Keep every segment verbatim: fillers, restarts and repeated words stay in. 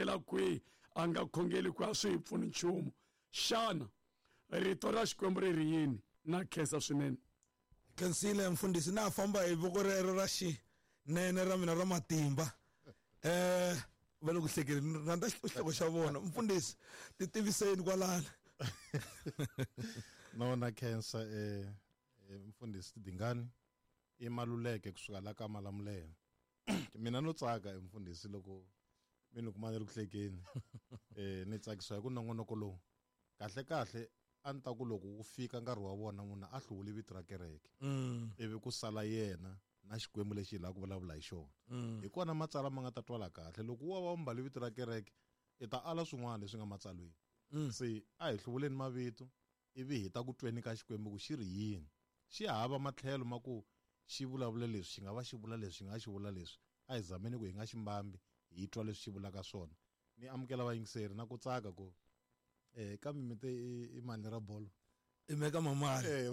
khongela kwihi a nga khongeli kwihi a swi hi pfuni nchumu. Xana rito ra Xikwembu ri ri yini? Na khensa swinene. Khensile mfundhisi, na famba hi voko rero ra xinene ra mina ra matimba. Eh va le ku hlekeni, rhandza xihloko xa vona. Mfundhisi, ti tiviseni kwalana. No, na khensa eh mfundhisi Dingani i Maluleke kusuka la ka Malamulele. Mina no tsaka mfundhisi loko mi ni kuma ni ri ku hlekeni. Eh ni tsakisiwa hi ku nongonoko lowu. Kahle kahle a ni ta ku loko wu fika nkarhi wa vona munhu a hluvuli vito ra kereke. Ivi ku sala yena na Xikwembu lexi hi lava ku vulavula hi xona. Hi kona matsalwa ma nga ta twala kahle. Loko wa va mbale vito ra kereke i ta ala swin'wana leswi nga matsalweni. Se a hi hluvuleni mavito ivi hi ta ku tweni ka Xikwembu ku xi ri yini. Xi hava matlhelo ma ku xi vulavula leswi, xi nga va xi vula leswi, xi nga xi vula leswi. A hi zameni ku hi nga xi mbambi, hi twa leswi xi vulaka swona. Ni amukela vayingiseri na ku tsaka ku eh kambe mi te i mali ra bolo. I meka mamali. Eh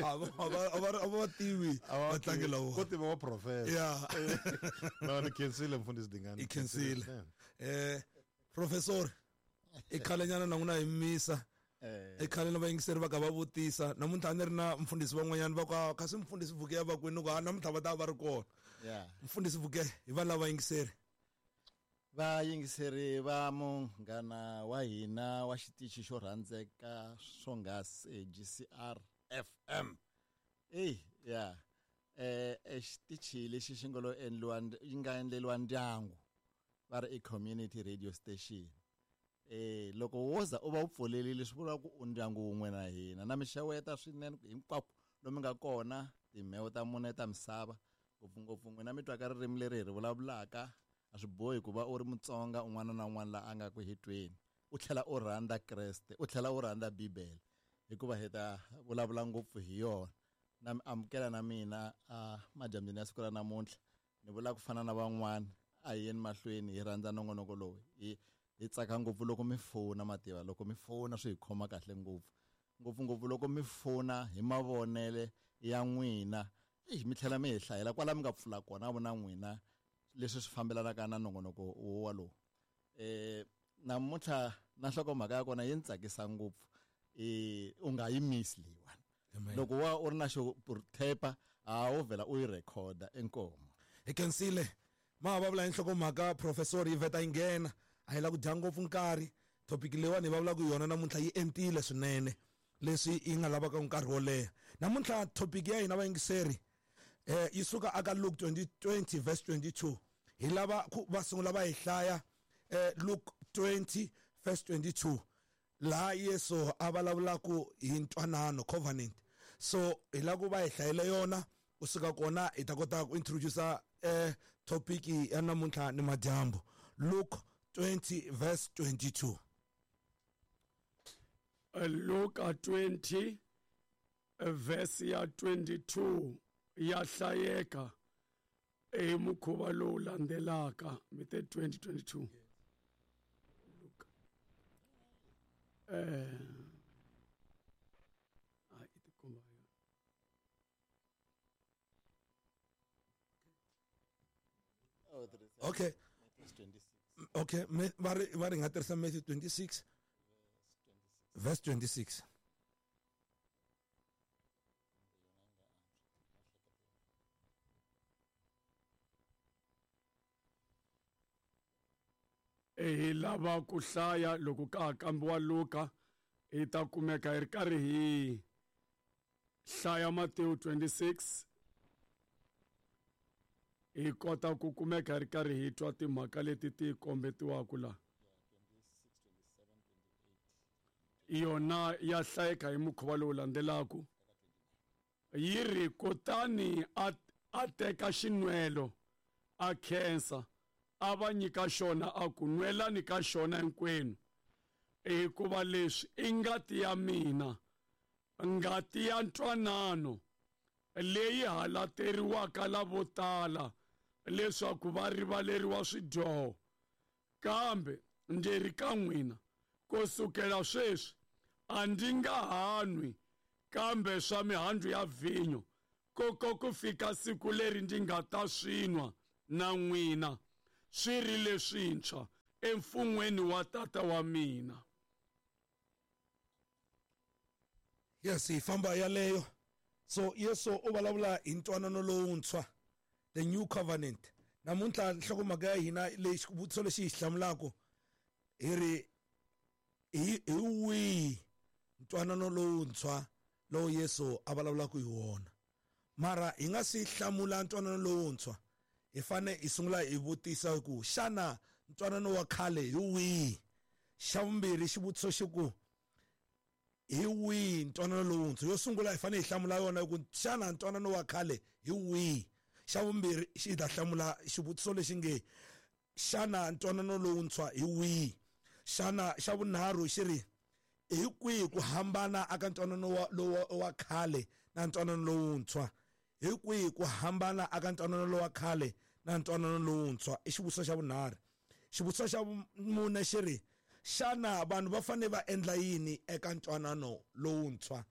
a va a va tivi vatlangi lava. Ko tiva wa professor. Yeah. No, ni khensile mfundhisi Dingani. I khensile. Eh professor, i khalenyana na n'wina hi misa. I khale na vayingiseri va ka va vutisa. Namuntlha a ni ri na mfundhisi van'wanyana va ku kasi mfundhisi Vuke va kwini ku a namuntlha va ta va ri kona. Yeah. Mfundhisi Vuke hi va lava vayingiseri. Vayingiseri va munghana wa hina wa xitichi xo rhandzeka swonghasi G C R F M. Ey, yeah. Eh xitichi lexi xi nga lo endliwa yi nga endleriwa ndyangu va ri i community radio station. Eh loko wo za u va u pfulerile swi vula ku u ndyangu wun'we na hina. Na mi xeweta swinene hinkwako lomu nga kona timheho ta mune ta misava, ngopfungopfu n'wina mi twaka ririmi leri hi ri vulavulaka. A swi bohi ku va u ri Mutsonga un'wana na un'wana la a nga ku hi tweni, u tlhela u rhandza Kreste, u tlhela u rhandza Bibele, hikuva hi ta vulavula ngopfu hi yona. Na mi amukela na mina a madyambyini ya siku ra namuntlha. Ni vula ku fana na van'wana, a hi yeni mahlweni hi rhandza nongonoko lowu. Hi hi tsaka ngopfu loko mi fona, mativa loko mi fona swi hi khoma kahle ngopfu, ngopfungopfu loko mi fona hi mavonele ya n'wina. Eyi mi tlhela mi hi hlayela kwala mi nga pfula kona vona n'wina leswi swi fambelanaka na nongonoko walowu. Eh namuntlha na nhlokomhaka ya kona yi ni tsakisa ngopfu. Eh u nga yi miss leyiwani. Loko wa u ri na xo thepa a wo vhela u yi recorda inkomo. Hi khensile. Ma va vula hi nhlokomhaka professor yi vheta yi nghena. A hi la ku dya ngopfu nkarhi. Topic leyiwani hi vulavulaka yona namuntlha yi entile swinene leswi yi nga lavaka nkarhi wo leha. Namuntlha topic ya hina vayingiseri eh yi suka aka Luke twenty twenty verse twenty-two. Hi lava ku va sungula va hi hlaya eh Luke twenty verse twenty-two laha Yesu a vulavulaka hi ntwanano covenant. So hi lava ku va hi hlayela yona kusuka kona hi ta kota ku introduce eh topic ya namuntlha ni madyambu. Luke twenty verse twenty-two. Luke twenty verse ya twenty-two ya hlayeka hi mukhuva lowu landzelaka. Mi te twenty twenty-two. Luke eh a i tikomba yona. Okay. Okay, va ri va ri nga tirhisa Matthew twenty-six verse twenty-six. Hi lava ku hlaya loko ka ha kambiwa Luka, hi ta kumeka hi ri karhi hi hlaya Matthew twenty-six, hi kota ku kumeka hi ri karhi hi twa timhaka leti ti kombetiwaka la. Yona ya hlayeka hi mukhuva lowu landzelaka. Yi ri kutani a a teka xinwelo a khensa a va nyika xona a ku nwelani ka xona hinkwenu, hikuva leswi i ngati ya mina, ngati ya ntwanano leyi halateriwaka lavo tala leswaku va rivaleriwa swidyoho. Kambe ndzi ri ka n'wina, kusukela sweswi a ndzi nga ha nwi kambe swa mihandzu ya vhinyo, koko ku fika siku leri ndzi nga ta swi nwa na n'wina swi ri leswintshwa emfun'weni wa Tata wa mina. Yes, hi famba yaleyo. So Yesu u vulavula hi ntwanano lowuntshwa, the new covenant. Namuntlha nhlokomhaka ya hina leyi xivutiso lexi hi xi hlamulaka hi ri hi hi wihi ntwanano lowuntshwa lowu Yesu a vulavulaka hi wona. Mara hi nga si hlamula ntwanano lowuntshwa, hi fane hi sungula hi vutisa ku xana ntwanano wa khale hi wihi. Xa vumbirhi xivutiso xi ku hi wihi ntwanano lowuntshwa. Yo sungula hi fane hi hlamula yona ku xana ntwanano wa khale hi wihi. Xa vumbirhi xi ta hlamula xivutiso lexi nge xana ntwanano lowuntshwa hi wihi. Xana xa vunharhu xi ri hi kwihi ku hambana aka ntwanano wa lowa wa khale na ntwanano lowuntshwa. Hi kwihi ku hambana aka ntwanano lowa khale na ntwanano lowuntshwa, i xivutiso xa vunharhu. Xivutiso xa mune xi ri xana vanhu va fanele va endla yini eka ntwanano lowuntshwa.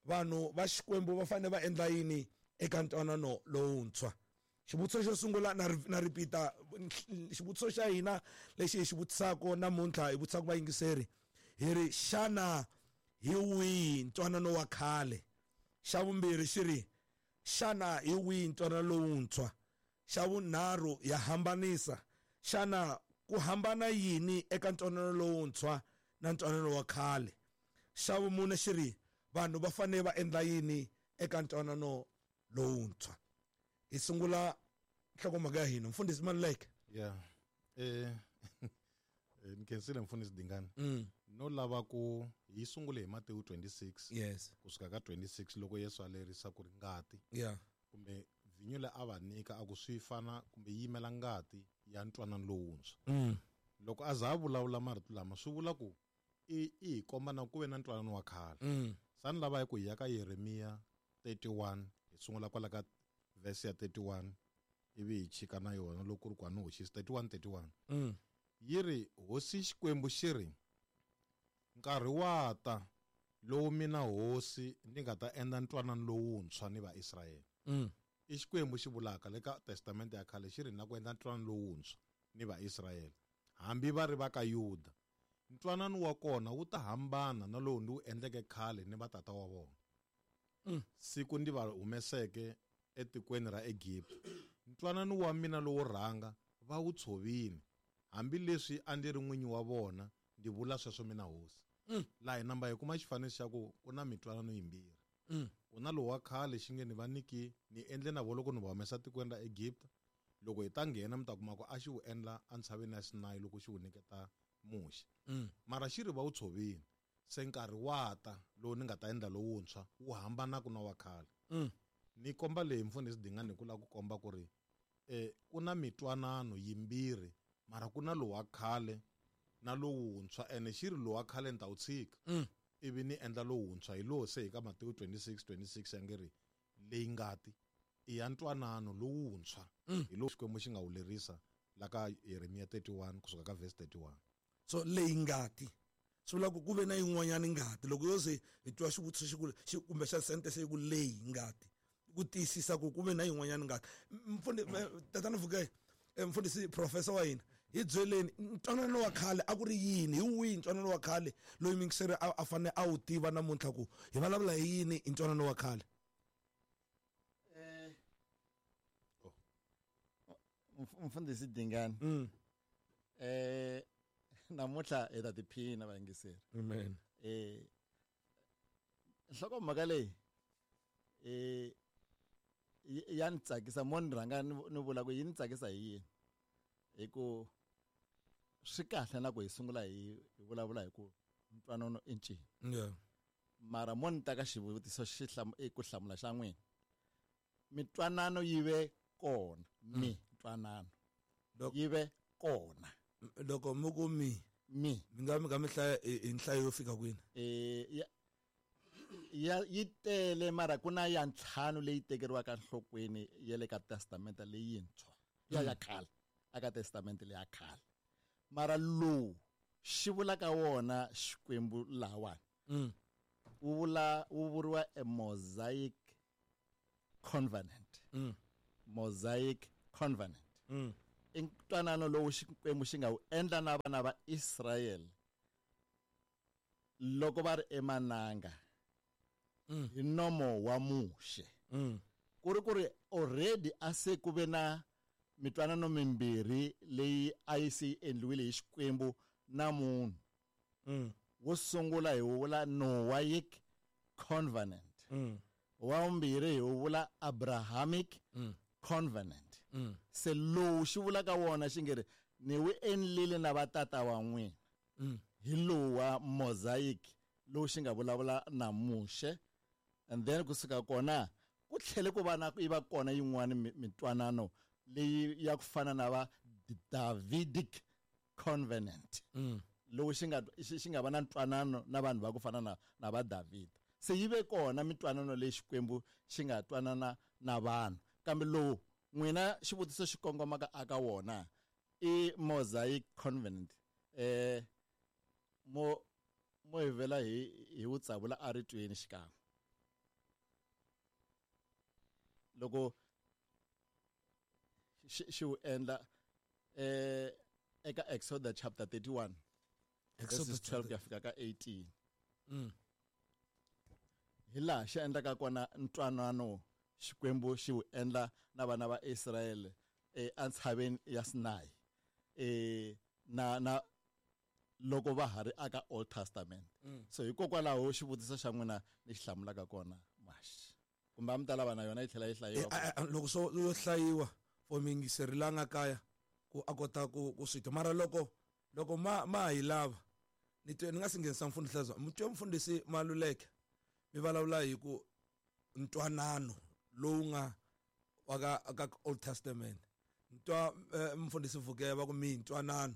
Vanhu va Xikwembu va fanele va endla yini eka ntwanano lowuntshwa. Xivutiso xo sungula na na repeat-a xivutiso xa hina lexi hi xi vutisaka namuntlha, hi vutisaka vayingiseri hi ri xana hi wihi ntwanano wa khale. Xa vumbirhi xi ri xana hi wihi ntwanano lowuntshwa. Xa vunharhu ya hambanisa, xana ku hambana yini eka ntwanano lowuntshwa na ntwanano wa khale. Xa vumune xi ri vanhu va fanele va endla yini eka ntwanano lowuntshwa. Hi sungula nhlokomhaka ya hina, mfundhisi Maluleke. Yeah. Eh ni khensile mfundhisi Dingani. Mm. No lava ku hi sungule hi Matewu twenty-six. Yes. Kusuka ka twenty-six loko Yesu a lerisa ku ri ngati. Yeah. Kumbe vhinyo leyi a va nyika a ku swi fana kumbe yimela ngati ya ntwanano lowuntshwa. Mm. Loko a za a vulavula marito lama swi vula ku i i hi komba na ku ve na ntwanano wa khale. Mm. Sani lava hi ku hi ya ka Yeremiya thirty-one hi sungula kwala ka verse ya thirty-one ivi hi chika na yona loko ku ri ku a ni hoxisi thirty-one thirty-one. Mm. Yi ri hosi Xikwembu xi ri nkarhi wa ta lowu mina hosi ni nga ta endla ntwanano lowuntshwa ni Vaisrayele. Mm. I Xikwembu xi vulaka le ka Testamente ya khale xi ri na ku endla ntwanano lowuntshwa ni Vaisrayele hambi va ri va ka Yuda. Ntwanano wa kona wu ta hambana na lowu ndi wu endleke khale ni vatata wa vona. Mm. Siku ndi va humeseke etikweni ra Egipta. Ntwanano wa mina lowo rhanga va wu tshovile hambileswi a ndzi ri n'winyi wa vona, ndi vula sweswo mina hosi. Mm. Laha hi namba hi kuma xifaniso xa ku ku na mitwanano yimbirhi. Mm. Ku na lowu wa khale xi nge ni va nyiki ni endle na vona loko ni va humesa tikweni ra Egipta. Loko hi ta nghena mi ta kuma ku a xi wu endla entshaveni ya Sinayi loko xi wu nyiketa Muxe. Mm. Mara xi ri va wu tshovile. Se nkarhi wa ta lowu ni nga ta endla lowuntshwa wu hambanaka na wa khale. Mm. Ni komba leyi mfundhisi Dingani hi ku lava ku komba ku ri eh ku na mitwanano yimbirhi mara ku na lowu wa khale na lowuntshwa, ene xi ri lowu wa khale ni ta wu tshika. Mm. Ivi ni endla lowuntshwa. Hi lowu se hi ka Matewu twenty-six twenty-six ya nge ri leyi ngati i ya ntwanano lowuntshwa. Mm. Hi lowu Xikwembu xi nga wu lerisa la ka Yeremiya thirty-one kusuka ka verse thirty-one. So leyi ngati swi vula ku ku ve na yin'wanyana ngati. Loko yo ze hi twa xivutiso xi ku xi kumbe xa sentence yi ku leyi ngati ku tiyisisa ku ku ve na yin'wanyana ngati. Mfundi tatana Vukai, mfundhisi professor wa hina, hi byeleni ntwanano wa khale a ku ri yini, hi wihi ntwanano wa khale loyi mingiseri a a fanele a wu tiva namuntlha ku hi vulavula hi yini hi ntwanano wa khale. Eh mfundhisi Dingani. Mm. Eh namuntlha hi ta tiphina vayingiseri. Amen. Eh nhlokomhaka leyi eh ya ni tsakisa mo ni rhanga ni vula ku yi ni tsakisa hi yini, hi ku swi kahle na ku hi sungula hi vulavula hi ku ntwanano i ncini. Yeah. Mara mo ni ta ka xivutiso xi ku hlamula xa n'wina, mitwanano yi ve kona, mitwanano yi ve kona. Loko mi ku mi mi mi nga mi nga mi hlaya hi nhlayo yo fika kwini? Eh ya ya yi tele mara ku na ya ntlhanu leyi tekeriwaka enhlokweni ya le ka testamente leyintshwa ya ya khale, aka testamente leya khale. Mara lowu xi vulaka wona Xikwembu lawani mm. wu vula wu vuriwa a Mosaic Covenant. Mm. Mosaic Covenant. Mm. I ntwanano lowu Xikwembu xi nga wu endla na vana va Israyele loko va ri emananga hi nomo wa Muxe. Ku ri ku ri already a se ku ve na mitwanano mimbirhi leyi a yi se yi endliwile hi Xikwembu na munhu. Wo sungula hi vula Noahic Covenant. Wa vumbirhi hi vula Abrahamic Covenant. Se lowu xi vulaka wona xi nge ri ni wu endlile na vatata wa n'wina. Hi lowu wa Mosaic lowu xi nga vulavula na Muxe. And then kusuka kona ku tlhele ku va na yi va kona yin'wana mitwanano leyi ya ku fana na va Davidic Covenant. Lowu xi nga xi nga va na ntwanano na vanhu va ku fana na na va David. Se yi ve kona mitwanano leyi Xikwembu xi nga twanana na vanhu. Kambe lowu n'wina xivutiso xi kongomaka aka wona i Mosaic Covenant. Eh mo mo hi vela hi hi wu tsavula a ritweni xikan'we. Loko xi wu endla eh eka Exodus chapter thirty-one. Exodus twelve ya fika ka eighteen. Mm. Hi laha xi endlaka kona ntwanano Xikwembu xi wu endla na vana va Israyele entshaveni ya Sinai. Eh na na loko va ha ri aka Old Testament. Mm. So hikokwalaho xivutiso xa n'wina ni xi hlamulaka kona maxi. Kumbe a mi ta lava na yona yi tlhela yi hlayiwa. Loko so yo hlayiwa for miyingiseri la nga kaya ku a kota ku ku swi twa. Mara loko loko ma ma hi lava ni twe ni nga si nghenisa mfundhisi Hlazo, mi twe mfundhisi Maluleke mi vulavula hi ku ntwanano lowu nga wa ka ka Old Testament. Ntwa mfundhisi Vukela va ku mi ntwanano.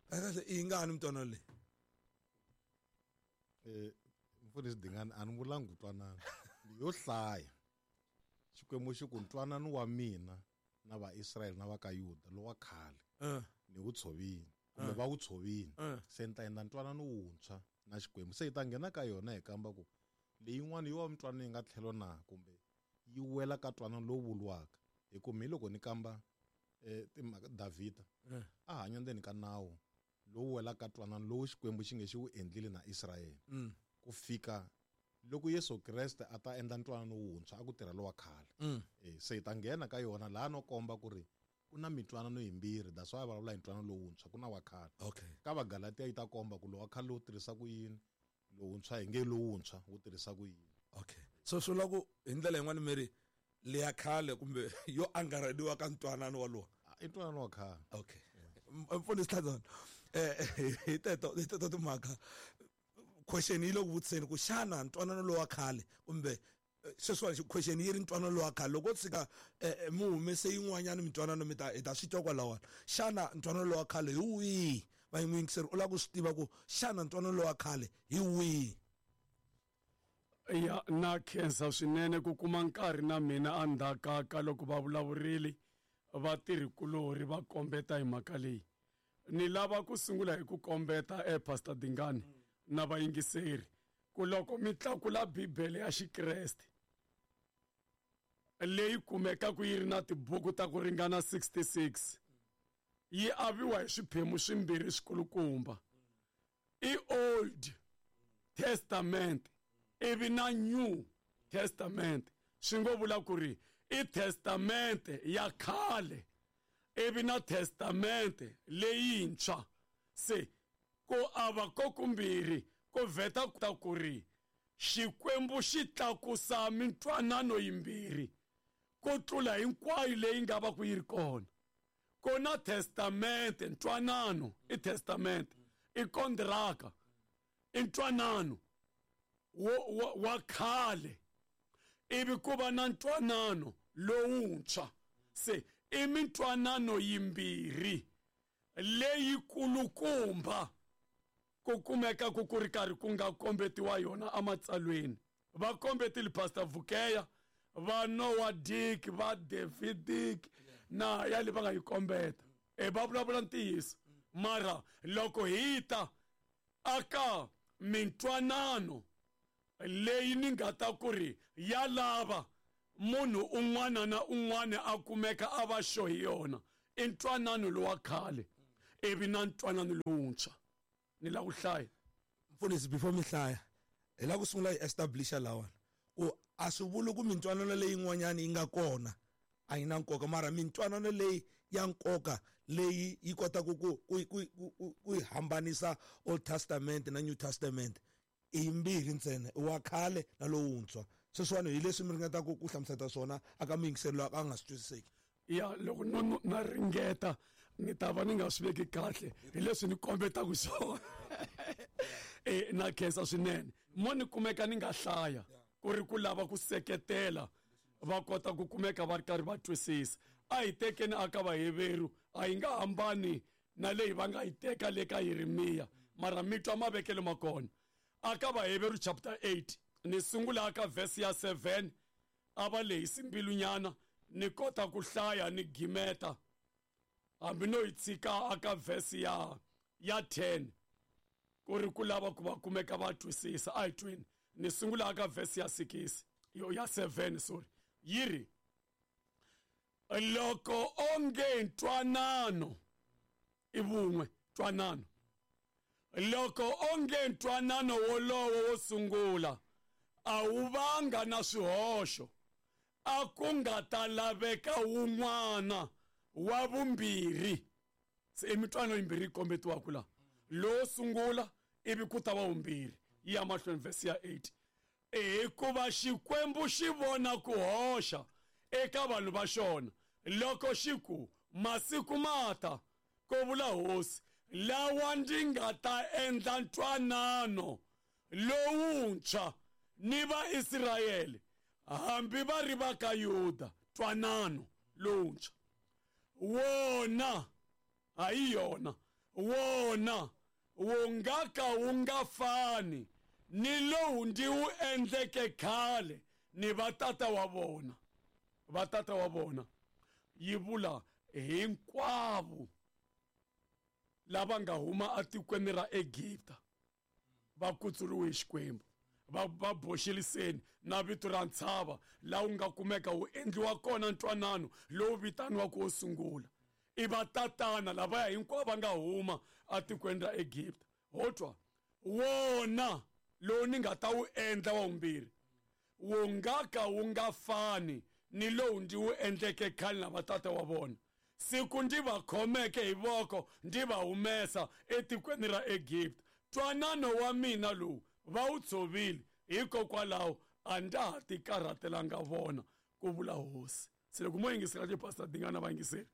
Kahle i ngani mntwanano leyi? Eh mfundhisi Dingani a ni vulanga ku twanana. Yo hlaya. Xikwembu xi ku ntwanano wa mina na va Israyele na va ka Yuda lowa khale. Ni wu tshovile kumbe va wu tshovile. Se ni ta endla ntwanano wuntshwa na Xikwembu. Se hi ta nghena ka yona hi kamba ku leyin'wana yo wa mintwanano yi nga tlhelo na kumbe yi wela ka ntwanano lowu vuriwaka. Hi ku mi loko ni kamba eh timhaka Davhida a hanya ndzeni ka nawu lowu welaka ntwanano lowu Xikwembu xi nge xi wu endlile na Israyele. Ku fika loko Yesu Kreste a ta endla ntwanano wuntshwa a ku tirha lowa khale. Eh se hi ta nghena ka yona laha no komba ku ri ku na mitwanano yimbirhi, that's why vulavula hi ntwanano lowuntshwa ku na wa khale. Okay. Ka Vagalatia yi ta komba ku lowa khale lowu tirhisa ku yini, lowuntshwa hi nge lowuntshwa wu tirhisa ku yini. Okay. So swi vula ku hi ndlela yin'wana mi ri leya khale kumbe yo angarheliwa ka ntwanano walowo. I ntwanano wa khale. Okay. Mfundhisi Hlazana, eh hi teto hi teto timhaka question yi le ku vutiseni ku xana ntwanano lowa khale kumbe sweswiwani question yi ri ntwanano lowa khale loko tshika mi humese yin'wanyana mintwanano mi ta hi ta swi twa kwalawani. Xana ntwanano lowa khale hi wihi? Vayingiseri u lava ku swi tiva ku xana ntwanano lowa khale hi wihi? Ya na khensa swinene ku kuma nkarhi na mina endzhaku ka loko va vulavurile vatirhikulori va kombeta hi mhaka leyi. Ni lava ku sungula hi ku kombeta e Pastor Dingani na vayingiseri ku loko mi tlakula Bibele ya Xikreste leyi kumekaka yi ri na tibuku ta ku ringana sixty-six yi aviwa hi swiphemu swimbirhi swikulukumba. I Old Testament ivi na New Testament. Swi ngo vula ku ri i Testament ya khale ivi na Testament leyintshwa. Se ku ava ko kumbirhi ku vheta ta ku ri Xikwembu xi tlakusa mintwanano yimbirhi ku tlula hinkwayo leyi nga va ku yi ri kona. Ku na testament, ntwanano i testament, i kontraka, i ntwanano wa, wa khale ivi ku va na ntwanano lowuntshwa. Se i mintwanano yimbirhi leyikulukumba ku kumeka ku ku ri karhi ku nga kombetiwa yona ematsalweni. Va kombetile Pastor Vukeya, va Noah Dick, va David Dick na ya le va nga yi kombeta. E va vulavula ntiyiso. Mara loko hi ta aka mintwanano leyi ni nga ta ku ri ya lava munhu un'wana na un'wana a kumeka a va xo hi yona I ntwanano lowa khale ivi na ntwanano lowuntshwa. Ni lava ku hlaya mfundhisi before mi hlaya hi lava ku sungula hi establisha lawani ku a swi vuli ku mintwanano leyin'wanyana yi nga kona a yi na nkoka, mara mintwanano leyi ya nkoka leyi yi kotaka ku ku ku ku yi hambanisa Old Testament na New Testament i yimbirhi ntsena, i wa khale na lowuntshwa. Sweswiwani hi leswi mi ringetaka ku hlamusela swona aka muyingiseri loyi a nga swi twisiseki. Ya loko no na ringeta ni ta va ni nga swi veki kahle hi leswi ni kombetaka swona. Eh na khensa swinene mo ni kumeka ni nga hlaya ku ri ku lava ku seketela va kota ku kumeka va ri karhi va twisisa. A hi tekeni aka Vaheveru a yi nga hambani na leyi va nga yi teka le ka Yeremiya, mara mi twa mavekelo ma kona. Aka Vaheveru chapter eight ni sungula aka verse ya seven a va lehisi mbilunyana ni kota ku hlaya ni gimeta hambi no yi tshika aka verse ya ya ten ku ri ku lava ku va kumeka va twisisa. A hi tweni ni sungula aka verse ya six yo ya seven sorry yi ri loko onge ntwanano i vun'we ntwanano loko onge ntwanano wolowo wo sungula a wu vanga na swihoxo a ku nga ta laveka wun'wana wa vumbirhi. Se i mitwanano yimbirhi yi kombetiwaka la, lowo sungula ivi ku ta va vumbirhi. Yi ya mahlweni verse ya eight hikuva Xikwembu xi vona ku hoxa eka vanhu va xona loko xi ku masiku ma ta, ku vula Hosi, lawa ndzi nga ta endla ntwanano lowuntshwa ni Vaisrayele hambi va ri va ka Yuda. Ntwanano lowuntshwa wona hayi yona wona wu nga ka wu nga fani ni lowu ndzi wu endleke khale ni vatata wa vona. Vatata wa vona yi vula hinkwavo lava nga huma atikweni ra Egipta va kutsuriwe hi Xikwembu, va va boxeliseni na vito ra ntshava laha wu nga kumeka wu endliwa kona ntwanano lowu vitaniwaka wo sungula. I vatatana lavaya hinkwavo va nga huma atikweni ra Egipta. Ho twa wona lowu ni nga ta wu endla wa vumbirhi wu nga ka wu nga fani ni lowu ndzi wu endleke khale na vatata wa vona siku ndzi va khomeke hi voko ndzi va humesa etikweni ra Egipta. Ntwanano wa mina lowu va wu tshovile, hikokwalaho a ndza ha ti karhatelanga vona, ku vula Hosi. Se loko mo yingisela ti pastor Dingana va yingiseri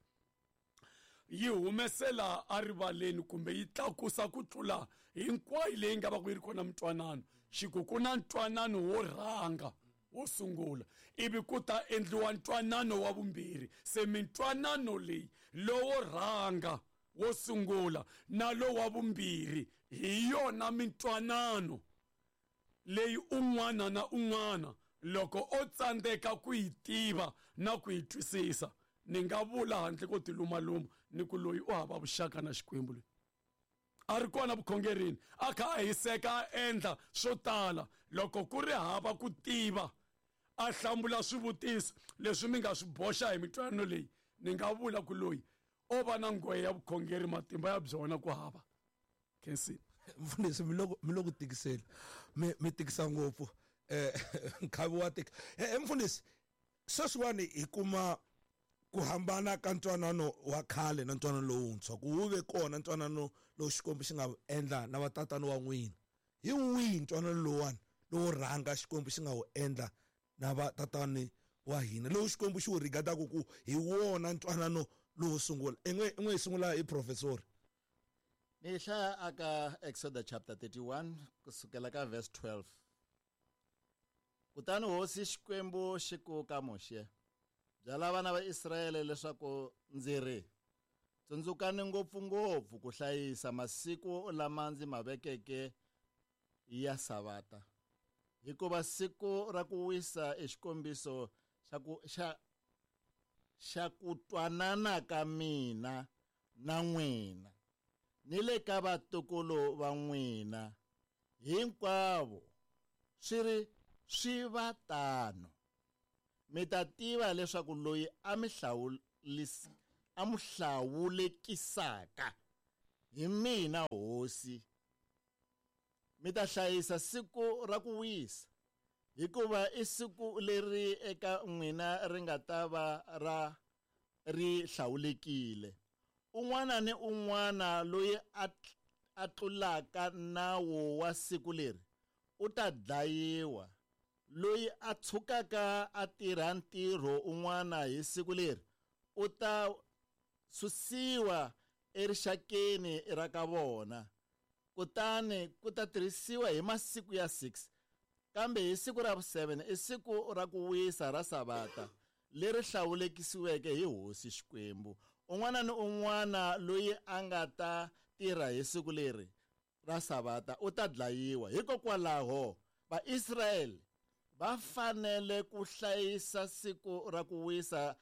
yi humesela erivaleni kumbe yi tlakusa ku tlula hinkwayo leyi nga va ku yi ri kona mintwanano. Xiku ku na ntwanano wo rhanga wo sungula ivi ku ta endliwa ntwanano wa vumbirhi. Se mintwanano leyi lowo rhanga wo sungula na lowa vumbirhi hi yona mintwanano leyi un'wana na un'wana loko o tsandzeka ku yi tiva na ku yi twisisa ni nga vula handle ko tilumaluma ni ku loyi u hava vuxaka na Xikwembu loyi a ri kona vukhongerini a kha a hiseka a endla swo tala loko ku ri hava ku tiva a hlamula swivutiso leswi mi nga swi boxa hi mintwanano leyi ni nga vula ku loyi o va na nghohe ya vukhongeri matimba ya byona ku hava. Khensi mfundhisi mi loko mi loko tikisela mi mi tikisa ngopfu eh nkhavi wa tika. Eh mfundhisi sweswiwani hi kuma ku hambana ka ntwanano wa khale na ntwanano lowuntshwa, ku wu ve kona ntwanano lowu Xikwembu xi nga endla na vatatana wa n'wina. Hi wihi ntwanano lowuwani lowo rhanga Xikwembu xi nga wu endla na vatatani wa hina, lowu Xikwembu xi wu rigataka ku hi wona ntwanano lowo sungula? In'we in'we hi sungula hi professor. Ni hlaya aka Exodus chapter thirty-one kusukela ka verse twelve. Kutani Hosi Xikwembu xi ku ka Muxe, byala vana va Israyele leswaku ndzi ri tsundzukani ngopfungopfu ku hlayisa masiku lama ndzi ma vekeke ya Savata, hikuva siku ra ku wisa i xikombiso xa ku xa xa ku twanana ka mina na n'wina ni le ka vatukulu va n'wina hinkwavo swi ri swi va tano. Mi ta tiva leswaku loyi a mi hlawulis a mu hlawulekisaka. Hi mina hosi. Mi ta hlayisa siku ra ku wisa, hikuva i siku leri eka n'wina ri nga ta va ra ri hlawulekile. Un'wana ni un'wana loyi a a tlulaka nawu wa siku leri u ta dlayiwa. Loyi a tshukaka a tirha ntirho un'wana hi siku leri u ta susiwa erixakeni ra ka vona. Kutani ku ta tirhisiwa hi masiku ya six, kambe hi siku ra vu-seven i siku ra ku wisa ra Savata leri hlawulekisiweke hi Hosi Xikwembu. Un'wana ni un'wana loyi a nga ta tirha hi siku leri ra Savata u ta dlayiwa. Hikokwalaho Vaisrayele va fanele ku hlayisa siku ra ku wisa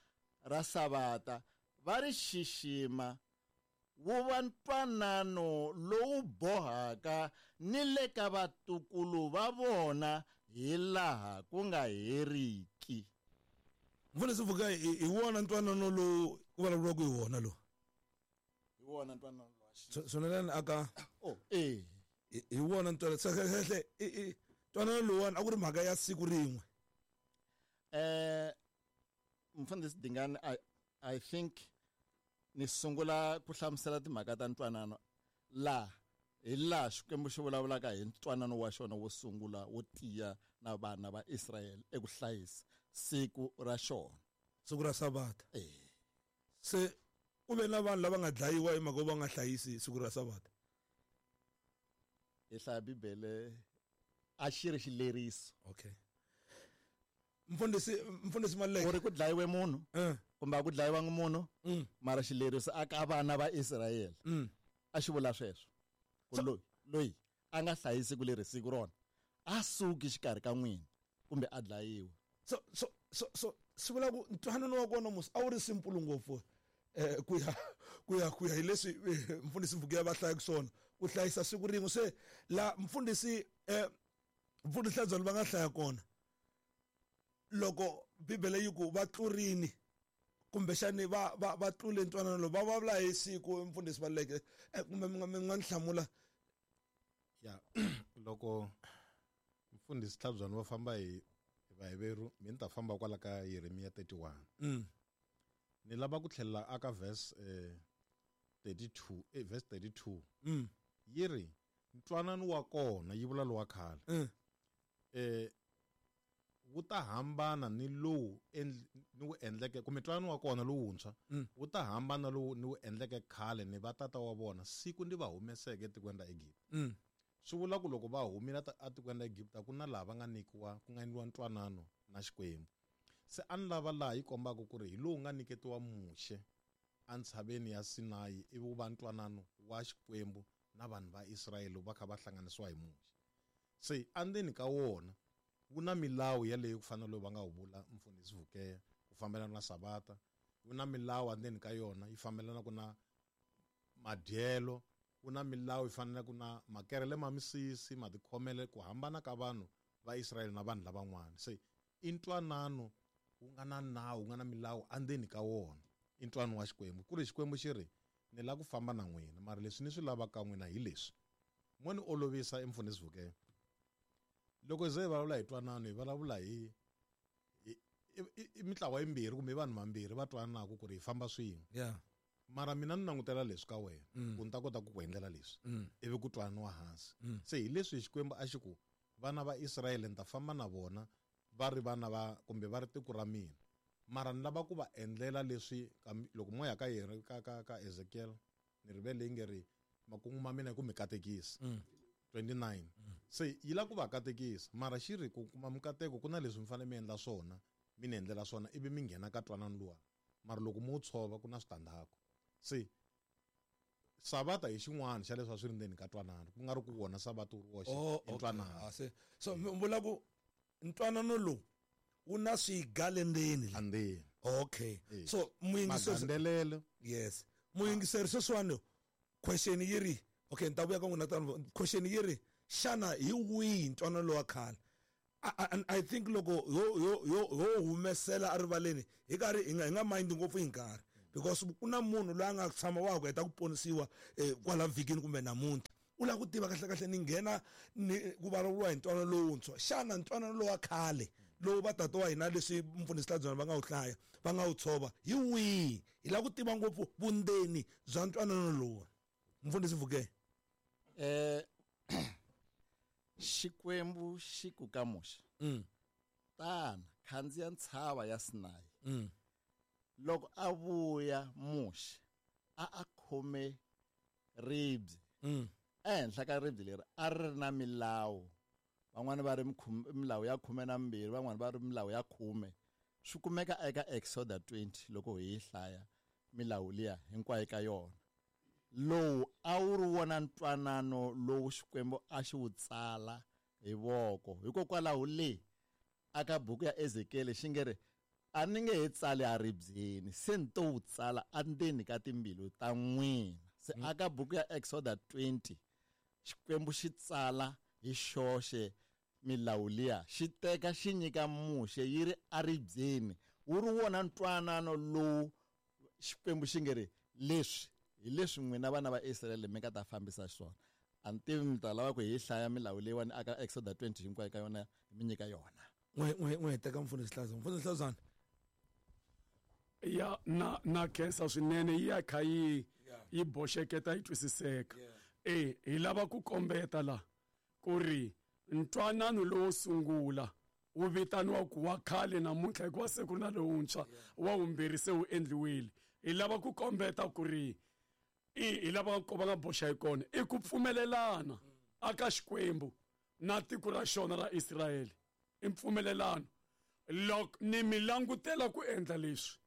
ra Savata va ri xixima, wu va ntwanano lowu bohaka ni le ka vatukulu va vona hi laha ku nga heriki. Mfundhisi Vuka, hi wona ntwanano lowu ku vulavuriwaka hi wona lowu? Hi wona ntwanano lowu. Swonelani aka oh eh hi wona ntwanano kahle i ntwanano lowuwani a ku ri mhaka ya siku rin'we. Eh Mfundhisi Dingani, I I think ni sungula ku hlamusela timhaka ta ntwanano la hi laha Xikwembu xi vulavulaka hi ntwanano wa xona wo sungula wo tiya na vana va Israyele eku hlayisa siku ra xona, siku ra Savata. Eh se ku ve na vanhu lava nga dlayiwa hi mhaka va nga hlayisi siku ra Savata. Hi hlaya Bibele a xi ri xileriso. Okay. Mfundhisi Mfundhisi Maluleke, u ri ku dlayiwe munhu kumbe a ku dlayiwangi munhu, mara xileriso a ka vana va Israyele a xi vula sweswo ku loyi loyi a nga hlayisi ku leri siku rona a suki xikarhi ka n'wina kumbe a dlayiwa. So so so so swi vula ku ntwanano wa kona musi a wu ri simple ngopfu eh ku ya ku ya ku ya hi leswi Mfundhisi Mvukiya va hlayaka swona ku hlayisa siku rin'we. Se la Mfundhisi eh Mfundhisi Hlabyani va nga hlaya kona loko Bibele yi ku va tlurini kumbexani va va va tlule ntwanano lowu va vulavula hi siku. Mfundhisi Maluleke, kumbe mi nga mi nga ni hlamula? Ya loko Mfundhisi Hlabyani va famba hi Vaheveru, mi ni ta famba kwala ka Yeremiya thirty-one. Mm. Ni lava ku tlhelela aka verse eh, thirty-two, eh, verse thirty-two. Mm. Yi ri ntwanano wa kona yi vula lowa khale. Mm. Eh wu ta hambana ni lowu ni wu endleke kumbe ntwanano wa kona lowuntshwa wu ta hambana lowu ni wu endleke khale ni vatata wa vona siku ndi va humeseke etikweni ra Egipta. Mm. Swi vula ku loko va humile etikweni ra Egipta ku na laha va nga nyikiwa ku nga endliwa ntwanano na Xikwembu. Se a ni lava laha yi kombaka ku ri hi lowu nga nyiketiwa Muxe entshaveni ya Sinayi ivi wu va ntwanano wa Xikwembu na vanhu va Israyele va kha va hlanganisiwa hi Muxe. Se endzeni ka wona wu na milawu yaleyo ku fana lowu va nga wu vula Mfundhisi Vukeya ku fambelana na Savata, wu na milawu endzeni ka yona yi fambelana ku na madyelo, wu na milawu yi fanelaka na makerele ma misisi, matikhomele, ku hambana ka vanhu va Israyele na vanhu lavan'wana. Se i ntwanano wu nga na nawu, wu nga na milawu endzeni ka wona, i ntwanano wa Xikwembu. Ku ri Xikwembu xi ri ni lava ku famba na n'wina, mara leswi ni swi lavaka n'wina hi leswi. Mo ni olovisa Mfundhisi Vukeya. Loko hi ze hi vulavula hi twanano hi vulavula hi i mitlawa yimbirhi kumbe vanhu vambirhi va twananaka ku ri hi famba swin'we. Yeah. Mara mina ni langutela leswi ka wena ku ni ta kota ku ku endlela leswi ivi ku twananiwa hansi. Se hi leswi Xikwembu a xi ku vana va Israyele ni ta famba na vona va ri vana va kumbe va ri tiko ra mina, mara ni lava ku va endlela leswi loko moya ka yena ka ka ka Ezekiel ni rivele yi nge ri makungu ma mina hi ku mi katekisa twenty-nine. Se yi lava ku va katekisa, mara xi ri ku kuma mikateko ku na leswi mi fanele mi endla swona, mi ni endlela swona ivi mi nghena ka twanano luwa, mara loko mo tshova ku na switandzhaku. Se Savata hi xin'wana xa leswi a swi ri ndzeni ka twanano, ku nga ri ku wona Savata wu ri woxe i ntwanano. Se so mi vula ku ntwanano lowu wu na swiga le ndzeni andzeni. Okay. So muyingiseri, yes, muyingiseri sweswiwani question yi ri okay, ni ta vuya ka n'wina tano. Question yi ri xana hi wihi ntwanano lowa khale? I, I think loko yo yo yo yo humesela erivaleni hi karhi hi nga hi nga mind ngopfu hi nkarhi, Because ku na munhu loyi a nga tshama wa ku heta ku ponisiwa eh, kwala vhikini kumbe namuntlha u lava ku tiva kahle kahle ni nghena ni ku vulavuriwa hi ntwanano lowuntshwa. Xana ntwanano lowa khale lowu va tata wa hina leswi mfundhisi Hladzwana va nga wu hlaya va nga wu tshova hi wihi? Hi lava ku tiva ngopfu vundzeni bya ntwanano lowu. Mfundhisi Vuke. Eh Xikwembu xi ku ka Muxe. Mm. Tana khandziya ntshava ya Sinai. Mm. Loko a vuya Muxe a a khome ribye. Mm. Ehenhla ka ribye leri a ri ri na milawu. Van'wani va ri milawu ya khume na mbirhi, van'wani va ri milawu ya khume. Swi kumeka eka Exodus twenty loko hi yi hlaya milawu liya hinkwayo ka yona. Lowu a wu ri wona ntwanano lowu Xikwembu a xi wu tsala hi voko. Hikokwalaho le aka buku ya Ezekiel xi nge ri a ni nge he tsali a ribyeni, se ni to wu tsala endzeni ka timbilu ta n'wina. Se aka buku ya Exodus twenty Xikwembu xi tsala hi xoxe milawu liya, xi teka xi nyika Muxe yi ri aribyeni. Wu ri wona ntwanano lowu Xikwembu xi nge ri leswi hi leswi n'wina vana va Israyele mi nga ta fambisa swona. A ni tivi mi ta lava ku hi hlaya milawu leyiwani aka Exodus twenty hinkwayo ka yona mi nyika yona. N'we n'we n'we teka mfundhisi Hladzwana. Mfundhisi Hladzwana. Ya na na khensa swinene yi ya kha yi yi boxeketa yi twisiseka. Eh hi lava ku kombeta la ku ri ntwanano lowo sungula wu vitaniwa ku wa khale namuntlha hikuva se ku ri na lowuntshwa wa vumbirhi se wu endliwile. Hi lava ku kombeta ku ri i hi lava ku va nga boxa hi kona i ku pfumelelana aka Xikwembu na tiko ra xona ra Israyele. I mpfumelelano. Loko ni mi langutela ku endla leswi,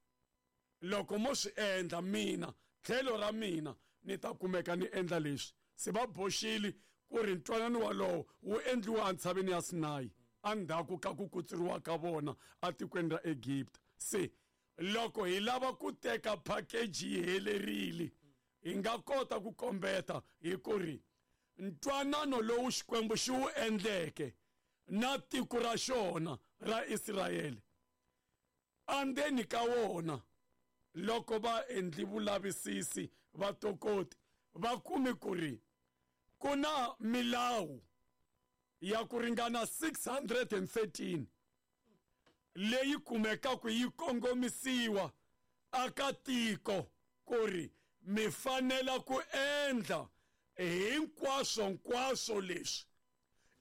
loko mo swi endla mina tlhelo ra mina ni ta kumeka ni endla leswi. Se va boxile ku ri ntwanano walowo wu endliwa entshaveni ya Sinai endzhaku ka ku kutsuriwa ka vona etikweni ra Egipta. Se loko hi lava ku teka package yi helerile, hi nga kota ku kombeta hi ku ri ntwanano lowu Xikwembu xi wu endleke na tiko ra xona ra Israyele endzeni ka wona loko va endli vulavisisi va tokoti va kumi ku ri ku na milawu ya ku ringana six hundred and thirteen leyi kumekaka yi kongomisiwa aka tiko ku ri mi fanela ku endla hinkwaswo nkwaswo leswi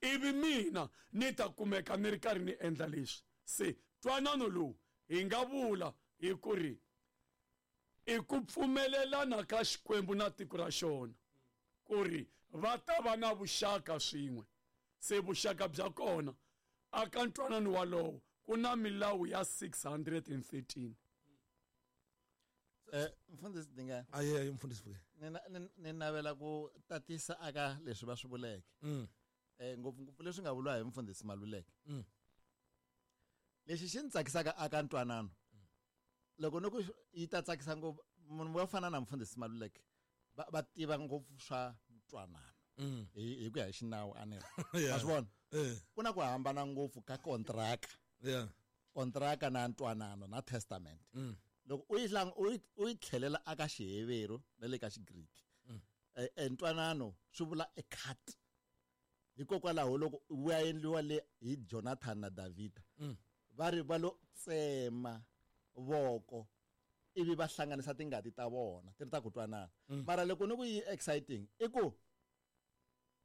ivi mina ni ta kumeka ni ri karhi ni endla leswi. Se ntwanano lowu hi nga vula hi ku ri i ku pfumelelana ka Xikwembu na tiko ra xona ku ri va ta va na vuxaka swin'we. Se vuxaka bya kona aka ntwanano walowo ku na milawu ya six hundred and thirteen. Eh mfundhisi Dingane. Aye mfundhisi Vuke. Ni ni navela ku tatisa aka leswi va swi vuleke. Mm. Eh ngopfu-ngopfu leswi nga vuriwa hi mfundhisi Maluleke. Mm. Lexi xi ni tsakisaka aka ntwanano. Loko ni ku yi ta tsakisa ngopfu munhu wo fana na mfundhisi Maluleke va va tiva ngopfu swa ntwanano. Mm. Hi hi ku ya hi xinawu a ni ri. Wa swi vona? Eh. Ku na ku hambana ngopfu ka kontraka. Yeah. Kontraka na ntwanano na testament. Mm. Loko u yi hlang u yi u yi tlhelela aka Xiheveru na le ka Xigriki. Mm. Eh ntwanano swi vula a cut. Hikokwalaho loko wu ya endliwa le hi Jonathan na Davida. Mm. Va ri va lo tsema voko ivi va hlanganisa tingati ta vona ti ri ta ku twanana. Mm. Mara loko ni ku yi exciting i ku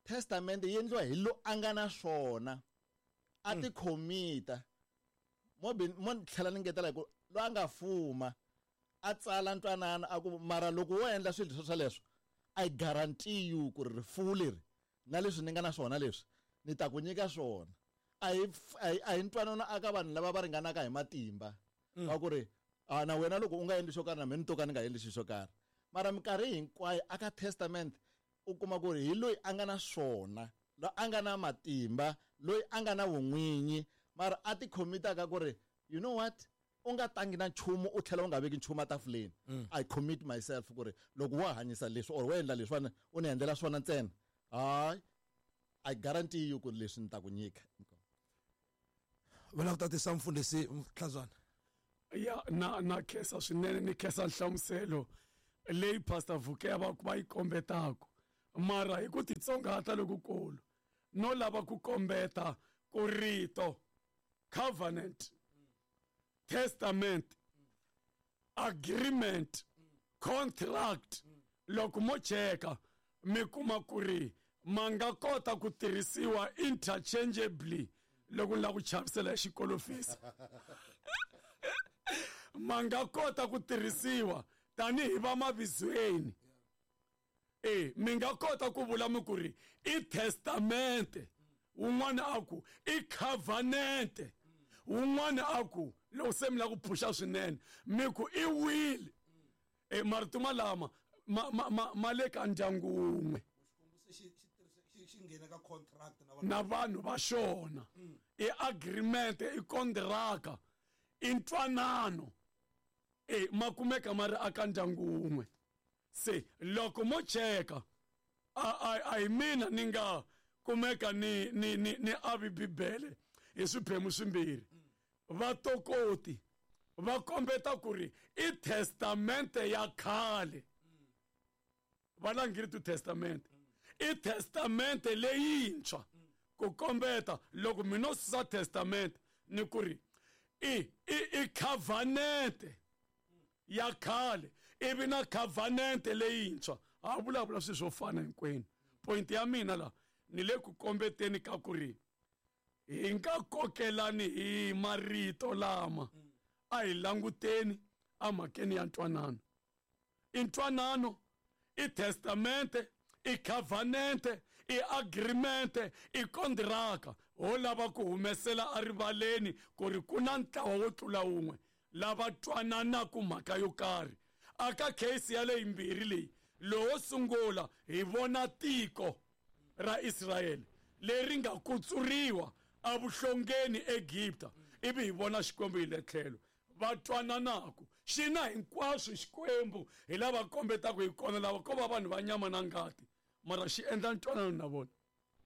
testament yi endliwa hi lo a nga na swona a ti khomita. Mo mo tlhela ni ngetela hi ku lo a nga fuma a tsala ntwanano a ku mara loko wo endla swilo swo sweleswo I guarantee you ku ri rifuwo leri na leswi ni nga na swona leswi ni ta ku nyika swona. A hi a hi ntwanano aka vanhu lava va ringanaka hi matimba va ku ri a na wena loko u nga endli xo karhi na mina ni to ka ni nga endli xilo xo karhi. Mara minkarhi hinkwayo aka testament u kuma ku ri hi loyi a nga na swona, loyi a nga na matimba, loyi a nga na vun'winyi, mara a ti khomitaka ku ri you know what, u nga tangi na nchumu u tlhela u nga veki nchumu etafuleni. I commit myself ku ri loko wo hanyisa leswi or wo endla leswiwani u ni endlela swona ntsena, hayi I guarantee you ku ri leswi ni ta ku nyika. Va lava ku tatisa mfundhisi Hladzwana. Ya na na khensa swinene, ni khensa nhlamuselo leyi Pastor Vukeya va va yi kombetaka, mara hi ku titsongahata lokukulu no lava ku kombeta ku rito covenant, testament, agreement, contract, loko mo cheka mi kuma ku ri ma nga kota ku tirhisiwa interchangeably loko ni lava ku chavisela hi xikolofisi. Ma nga kota ku tirhisiwa tanihi va mavizweni. E mi nga kota ku vula mi ku ri i testamente, wun'wana a ku i covenant, wun'wana a ku loko se mi lava ku phusha swinene mi ku i will. E marito malama ma ma ma ma le ka ndyangu wun'we na vanhu va xona. I agreement, i kontraka, i ntwanano, e ma kumeka ma ri aka ndyangu wun'we. Se loko mo cheka a a a hi mina ni nga kumeka ni ni ni ni avi Bibele hi swiphemu swimbirhi. Vatokoti va kombeta ku ri i testamente ya khale, va langiri tu testamente, i testamente leyintshwa. Ku kombeta loko mi no susa testamente ni ku ri i i i covenant ya khale ivi na covenant leyintshwa, ha vulavula swilo swo fana hinkwenu. Point ya mina la ni le ku kombeteni ka ku ri hi nga kokelani hi marito lama, a hi languteni emhakeni ya ntwanano. I ntwanano, i testamente, i covenant, i agreement, i kontraka. Ho lava ku humesela erivaleni ku ri ku na ntlawa wo tlula wun'we lava twananaku mhaka yo karhi. Aka case ya leyi mbirhi leyi, lowo sungula hi vona tiko ra Israyele leri nga kutsuriwa evuhlongeni Egipta, ivi hi vona Xikwembu hi le tlhelo va twananaku xi na hinkwaswo Xikwembu hi lava kombetaka hi kona lava ko va vanhu va nyama na ngati, mara xi endla ntwanano na vona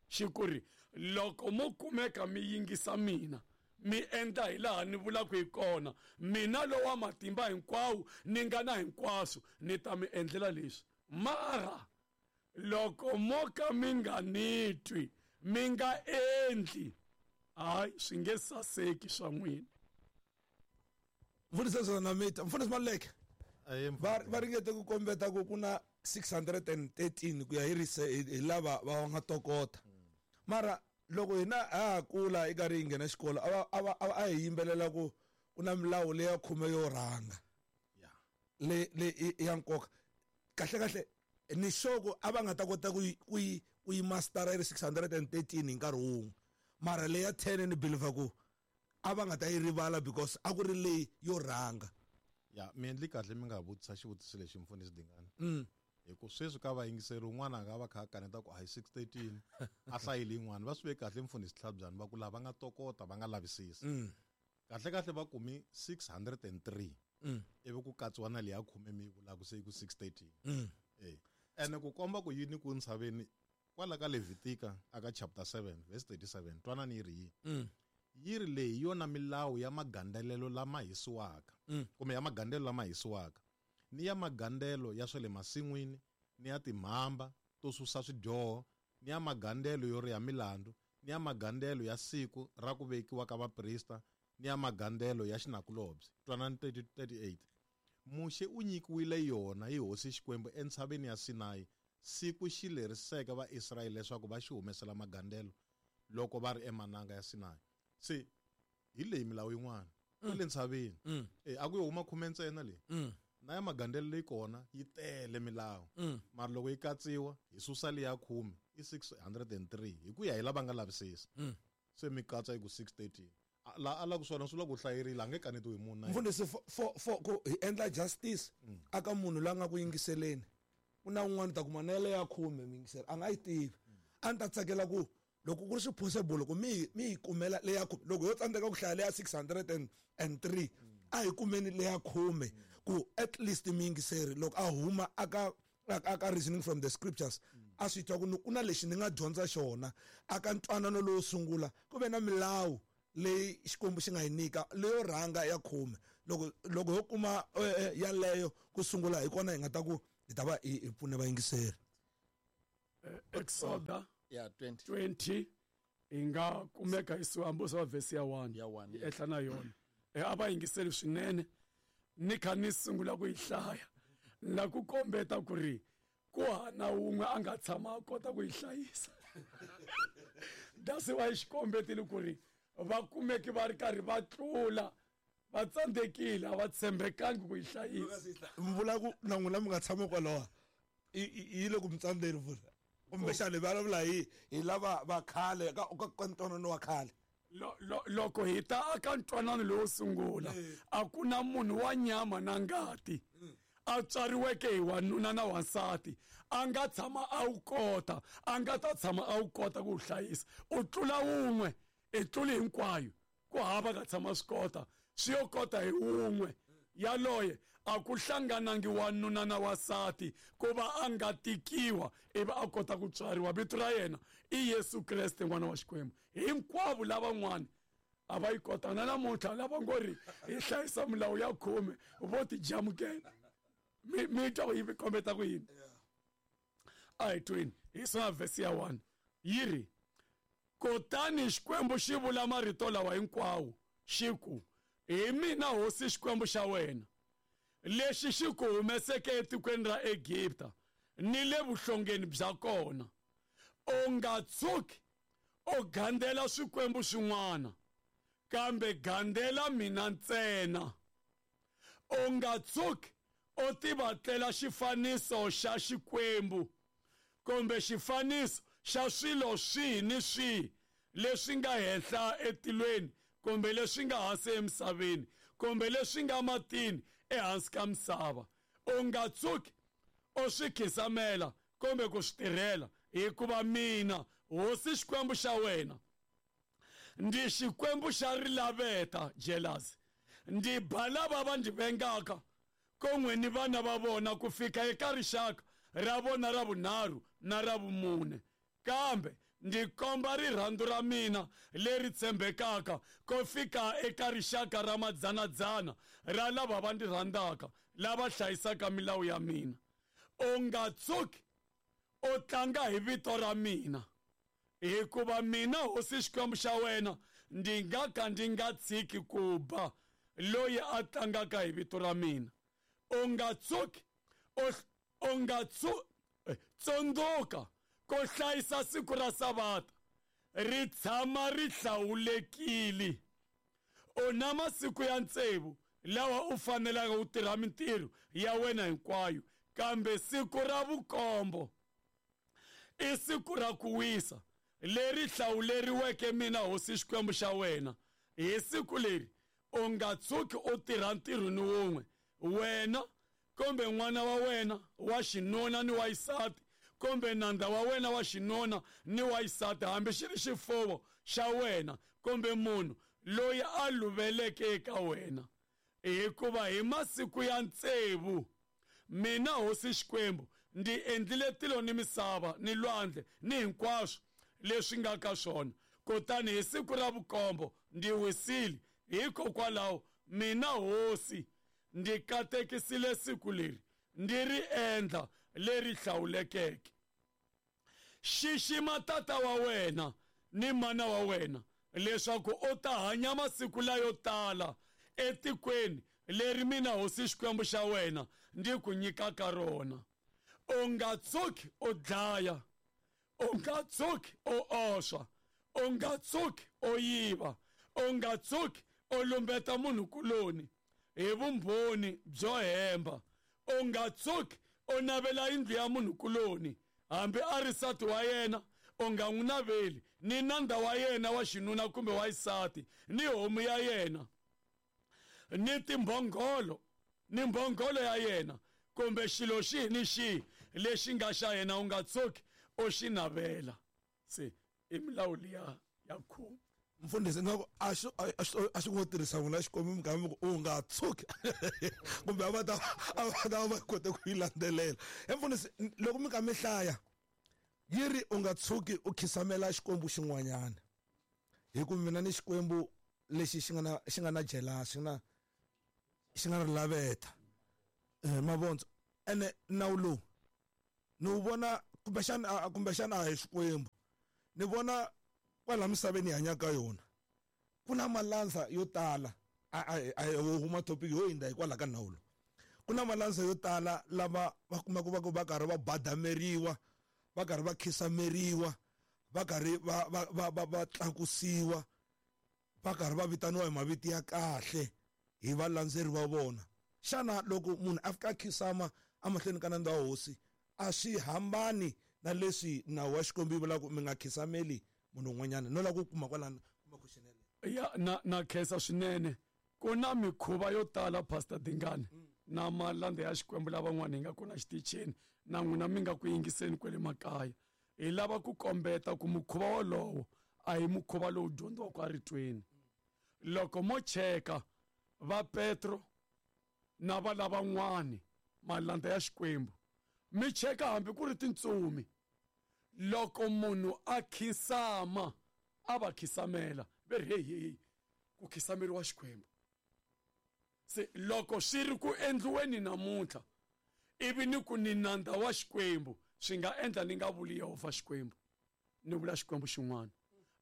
xi ku ri loko mo kumeka mi yingisa mina, mi endla hi laha ni vulaka hi kona, mina lowa matimba hinkwawo ni nga na hinkwaswo ni ta mi endlela leswi. Mara loko mo ka mi nga ni twi, mi nga endli, hayi swi nge saseki swa n'wina. Mfundhisi Zona Mita, Mfundhisi Maluleke, va va ringete ku kombeta ku ku na six hundred and thirteen ku ya hi rise hi lava va nga tokota. Mara loko hina ha ha kula i karhi hi nghena xikolo a va a a hi yimbelela ku ku na milawu leya khume yo rhanga le le ya nkoka. Kahle kahle ni sure ku a va nga ta kota ku yi ku yi ku yi mastera yi ri six hundred and thirteen hi nkarhi wun'we, mara leya ten ni believe ku a va nga ta yi rivala because a ku ri leyi yo rhanga. Ya mi endli kahle mi nga vutisa xivutiso lexi Mfundhisi Dingani. Mm. Hi ku sweswi ka vayingiseri un'wana a nga va kha a kaneta ku a hi six thirteen a hlayile yin'wana, va swi ve kahle Mfundhisi Tlhabyani va ku lava nga tokota va nga lavisisa. Mm. Kahle kahle va kumi six hundred and three. Mm. Ivi ku katsiwa na leya khume mi yi vulaka se yi ku six thirteen. Mm. Eh. Ene ku komba ku yini ku ntshaveni kwala ka Levitika aka chapter seven verse thirty-seven twanani yi ri yini? Mm. Yi ri leyi hi yona milawu ya magandzelelo lama hisiwaka, Mm. kumbe ya magandzelelo lama hisiwaka, ni ya magandzelelo ya swa le masin'wini, ni ya timhamba to susa swidyoho, ni ya magandzelelo yo riha milandzu, ni ya magandzelelo ya siku ra ku vekiwa ka vaprista, ni ya magandzelelo ya xinakulobye. Twanani thirty-eight. Muxe u nyikiwile yona hi Hosi Xikwembu entshaveni ya Sinayi siku xi leriseke Vaisrayele leswaku va xi humesela magandzelelo loko va ri emananga ya Sinayi. Se hi leyi milawu yin'wana kwale ntshaveni. Mm. Eh, a ku yo huma khume ntsena leyi. Mm. Na ya magandzelelo leyi kona yi tele milawu. Mm. Mara loko yi katsiwa hi susa leya khume i six hundred and three hi ku ya hi lava nga lavisisa. Mm. Se mi katsa yi ku six thirteen. La a la ku swona swi la ku hlayerile a nge kanetiwi hi munhu na yena. Mfundhisi, for, for, for ku hi endla justice aka munhu la nga ku yingiseleni, ku na un'wana ta kuma na yale ya khume mi yingisela a nga yi tivi. A ni ta tsakela ku loko ku ri swi possible ku mi mi yi kumela leya khume, loko yo tsandzeka ku hlaya leya six hundred and three a hi kumeni leya khume ku at least mi yingiseri loko a huma aka aka reasoning from the scriptures a swi twa ku ku na lexi ni nga dyondza xona aka ntwanano lowo sungula ku ve na milawu leyi Xikwembu xi nga yi nyika leyo rhanga ya khume. Loko loko ho kuma yaleyo ku sungula hi kona hi nga ta ku hi ta va hi pfune vayingiseri. Exoda yeah twenty twenty hi nga kumeka hi sihambo swa verse ya one ya one yi ehla na yona. E a va yingiseli swinene ni kha ni sungula ku yi hlaya na ku kombeta ku ri ku hana wun'we a nga tshama a kota ku yi hlayisa. That's why xikombetile ku ri va kumeki va ri karhi va tlula va tsandzekile a va tshembekangi ku yi hlayisa. Mi vula ku na n'wina mi nga tshama kwalaho yi le ku mi tsandzeni vula kumbexana hi vulavula hi hi lava va khale ka ka ntwanano wa khale. Loko hi ta aka ntwanano lowo sungula a ku na munhu wa nyama na ngati a tswariweke hi wanuna na wansati a nga tshama a wu kota a nga ta tshama a wu kota ku wu hlayisa. U tlula wun'we i tluli hinkwayo ku hava ka tshama swi kota swi yo kota hi wun'we yaloye a ku hlanganangi wanuna na wansati ku va a nga tikiwa ivi a kota ku tswariwa. Vito ra yena i Yesu Kreste n'wana wa Xikwembu. Hinkwavo lavan'wana a va yi kota na namuntlha lava ngo ri hi hlayisa milawu ya khume vo ti jamukela. Mi mi twa ku yi kombeta ku yini? A hi tweni hi sona verse ya one yi ri kutani Xikwembu xi vula marito lawa hinkwawo xi ku hi mina hosi Xikwembu xa wena lexi xi ku humeseke etikweni ra Egipta ni le vuhlongeni bya kona. U nga tshuki u gandzela swikwembu swin'wana kambe gandzela mina ntsena. U nga tshuki u tivatlela xifaniso xa Xikwembu kumbe xifaniso xa swilo swihi ni swihi leswi nga henhla etilweni kumbe leswi nga hansi emisaveni kumbe leswi nga matini ehansi ka misava. U nga tshuki u swi khisamela kumbe ku swi tirhela hikuva mina hosi Xikwembu xa wena ndi Xikwembu xa rilaveta jealousy ndi ba lava va ndzi vengaka kon'we ni vana va vona ku fika eka rixaka ra vona ra vunharhu na ra vumune kambe ndzi komba rirhandzu ra mina leri tshembekaka ko fika eka rixaka ra madzanadzana ra lava va ndzi rhandzaka lava hlayisaka milawu ya mina. U nga tshuki u tlanga hi vito ra mina hikuva mina hosi Xikwembu xa wena ndzi nga ka ndzi nga tshiki ku ba loyi a tlangaka hi vito ra mina. U nga tshuki u nga tsundzuka ku hlayisa siku ra Savata ri tshama ri hlawulekile. U na masiku ya tsevu lawa u fanelaka u tirha mintirho ya wena hinkwayo kambe siku ra vukombo i siku ra ku wisa leri hlawuleriweke mina hosi Xikwembu xa wena. Hi siku leri u nga tshuki u tirha ntirho ni wun'we wena kumbe n'wana wa wena wa xinuna ni wa xisati kumbe nandza wa wena wa xinuna ni wa xisati hambi xi ri xifuwo xa wena kumbe munhu loyi a luveleke eka wena. Hikuva hi masiku ya tsevu mina hosi Xikwembu ndzi endlile tilo ni misava ni lwandle ni hinkwaswo leswi nga ka swona kutani hi siku ra vukombo ndzi wisile. Hikokwalaho mina hosi ndzi katekisile siku leri ndzi ri endla leri hlawulekeke. Xixima tata wa wena ni mana wa wena leswaku u ta hanya masiku layo tala etikweni leri mina hosi Xikwembu xa wena ndzi ku nyikaka rona. U nga tshuki u dlaya, u nga tshuki u oswa, u nga tshuki u yiva, u nga tshuki u lumbeta munhukuloni hi vumbhoni byo hemba, u nga tshuki u navela yindlu ya munhukuloni hambi a ri nsati wa yena u nga n'wi naveli ni nandza wa yena wa xinuna kumbe wa xisati ni homu ya yena ni timbhongolo ni mbhongolo ya yena kumbe xilo xihi ni xihi lexi nga xa yena u nga tshuki u xi navela. Se i milawu liya ya khume. Mfundhisi nga ku a xi a xi ngo tirhisa n'wina Xikwembu minkarhi mi ku u nga tshuki kumbe a va ta a va ta va kote ku yi landzelela. He mfundhisi loko mi kha mi hlaya yi ri u nga tshuki u khisamela Xikwembu xin'wanyana hi ku mina ni Xikwembu lexi xi nga na xi nga na jealous xi na xi nga ri laveta eh mavondzo ene nawu lowu ni wu vona kumbexana kumbexana a hi Xikwembu ni vona kwala misaveni hi hanyaka yona ku na malandza yo tala a a huma topic yo hindza hikwalaho ka nawu lowu ku na malandza yo tala lava va kumaka va ku va karhi va badameriwa va karhi va khisameriwa va karhi va va va va va tlakusiwa va karhi va vitaniwa hi mavito ya kahle hi valandzeri va vona xana loko munhu a fika a khisama emahlweni ka nandza wa hosi a swi hambani na leswi nawu wa Xikwembu yi vulaka mi nga khisameli munhu un'wanyana no lava ku kuma kwalano kuma question yaleyo ya na na khensa swinene ku na mikhuva yo tala Pastor Dingane na malandza ya Xikwembu lavan'wana hi nga kona xitichini na n'wina mi nga ku yingiseni kwale makaya hi lava ku kombeta ku mukhuva wolowo a hi mukhuva lowu dyondziwaka eritweni loko mo cheka va Petro na va lavan'wani malandza ya Xikwembu mi cheka hambi ku ri tintsumi loko munhu a khinsama a va khisamela ve ri hey hey ku khisameriwa Xikwembu se loko swi ri ku endliweni namuntlha ivi ni ku ni nandza wa Xikwembu swi nga endla ni nga vuli Yehovha Xikwembu ni vula Xikwembu xin'wana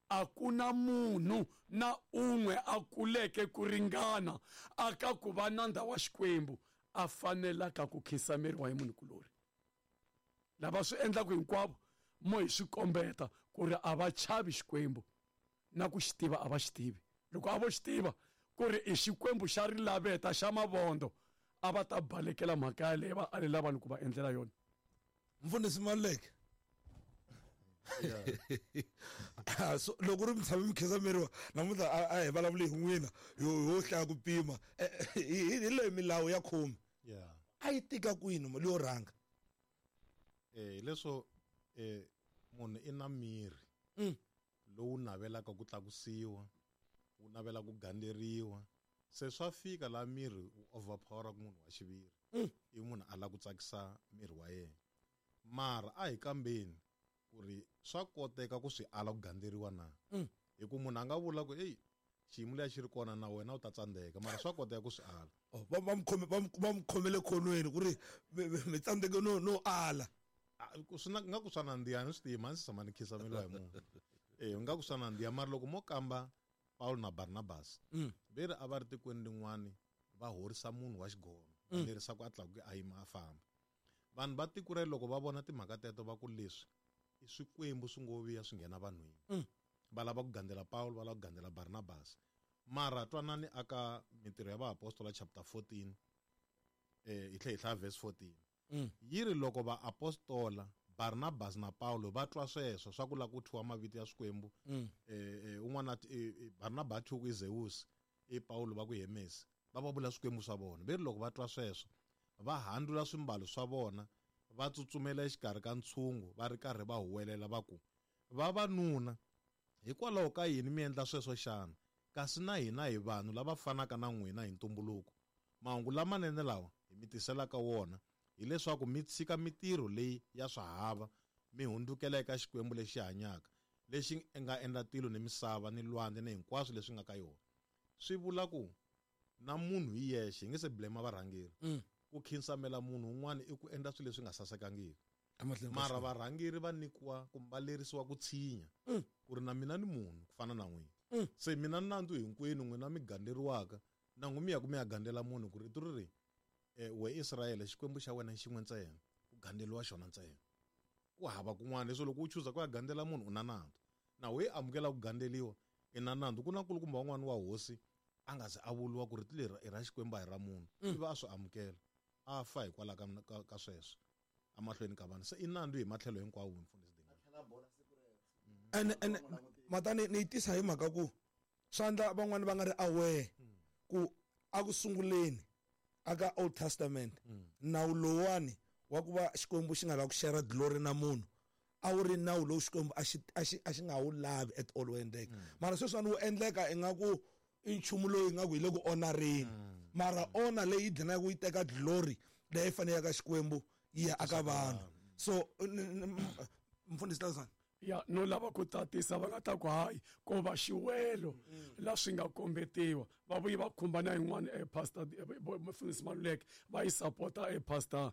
a ku na munhu na un'we a kuleke ku ringana aka ku va nandza wa Xikwembu a fanelaka ku khisameriwa hi munhu kulori lava swi endlaka hinkwavo mo hi swi kombeta ku ri a va chavi Xikwembu na ku xi tiva a va xi tivi loko a vo xi tiva ku ri i Xikwembu xa rilaveta xa mavondo a va ta balekela mhaka yaleyo va alela vanhu ku va endlela yona mfundhisi Maluleke so loko ri mi tshame mi khisameriwa namuntlha a hi vulavuli hi n'wina yo yo hlaya ku pima hi leyi milawu ya khume yeah a yi tika kwini mali yo rhanga eh leswo eh munhu i na miri lowu navelaka ku tlakusiwa wu navela ku gandzeriwa se swa fika la miri wu overpower ku munhu wa xiviri i munhu a lava ku tsakisa miri wa yena mara a hi kambeni ku ri swa koteka ku swi ala ku gandzeriwa na hi ku munhu a nga vula ku eyi xiyimo leya xi ri kona na wena u ta tsandzeka mara swa koteka ku swi ala va va mu va mu khomele khonweni ku ri mi tsandzeke no no ala swi na nga ku swa nandziha ni swi tivi mhani si tshama ni khisameliwa hi munhu eh nga ku swa nandziha mara loko mo kamba Paulo na Barnabas ve ri a va ri tikweni rin'wani va horisa munhu wa xigono va lerisa ku a tlakuke a yima a famba vanhu va tiko rero loko va vona timhaka teto va ku leswi i swikwembu swi ngo vuya swi nghena vanhwini va lava ku gandzela Paulo va lava ku gandzela Barnabas mara twanani aka mintirho ya vaapostola chapter fourteen eh hi tlhe hi hlaya verse fourteen yi ri loko vaapostola Barnabas na Paulo va twa sweswo swa ku lava ku thyiwa mavito ya swikwembu eh un'wana Barnabas thyiwa ku i Zeus i Paulo va ku i Hermes va va vula swikwembu swa vona ve ri loko va twa sweswo va handula swimbalo swa vona va tsutsumela exikarhi ka ntshungu va ri karhi va huwelela va ku vavanuna hikwalaho ka yini mi endla sweswo xana kasi na hina hi vanhu lava fanaka na n'wina hi ntumbuluko mahungu lamanene lawa hi mi tiselaka wona hileswaku mi tshika mitirho leyi ya swahava mi hundzukela eka Xikwembu lexi hanyaka lexi nga endla tilo ni misava ni lwandle ni hinkwaswo leswi nga ka yona swi vula ku na munhu hi yexe hi nge se blame varhangeri ku khinsamela munhu un'wana i ku endla swilo leswi nga sasekangiki mara varhangeri va nyikiwa kumbe va lerisiwa ku tshinya ku ri na mina ni munhu ku fana na n'wina se mina nandzu hinkwenu n'wina mi gandzeriwaka na n'wi mi ya ku mi ya gandzela munhu ku rito ri ri eh we Israyele Xikwembu xa wena xin'we ntsena ku gandzeriwa xona ntsena ku hava kun'wana leswo loko u chuza ku ya gandzela munhu u na nandzu na we amukela ku gandzeliwa i na nandzu ku na nkulukumba wan'wana wa hosi a nga se a vuriwa ku rito leri i ra Xikwembu a hi ra munhu ivi a swi amukela a fa hikwalaho ka ka sweswo emahlweni ka vanhu se i nandzu hi matlhelo hinkwawo mfundhisi Dingane ene ene matani ni yi tisa hi mhaka ku swandla van'wani va nga ri aware ku a ku sunguleni aka Old Testament nawu lowani wa ku va Xikwembu xi nga lavi ku share glory na munhu a wu ri nawu lowu Xikwembu a xi a xi a xi nga wu lavi at all wu endleka mara sweswiwani wu endleka ingaku i nchumu lowu ingaku hi le ku onareni mara ona leyi dlinaka yi teka glory leyi faneleke ka Xikwembu yi ya aka vanhu so mfundhisi Lazani Ya no lava ku tatisa va nga ta ku hayi ko va xiwelo la swi nga kombetiwa va vuyi va khumba na yin'wana e pastor mfundhisi Maluleke va yi sapota e pastor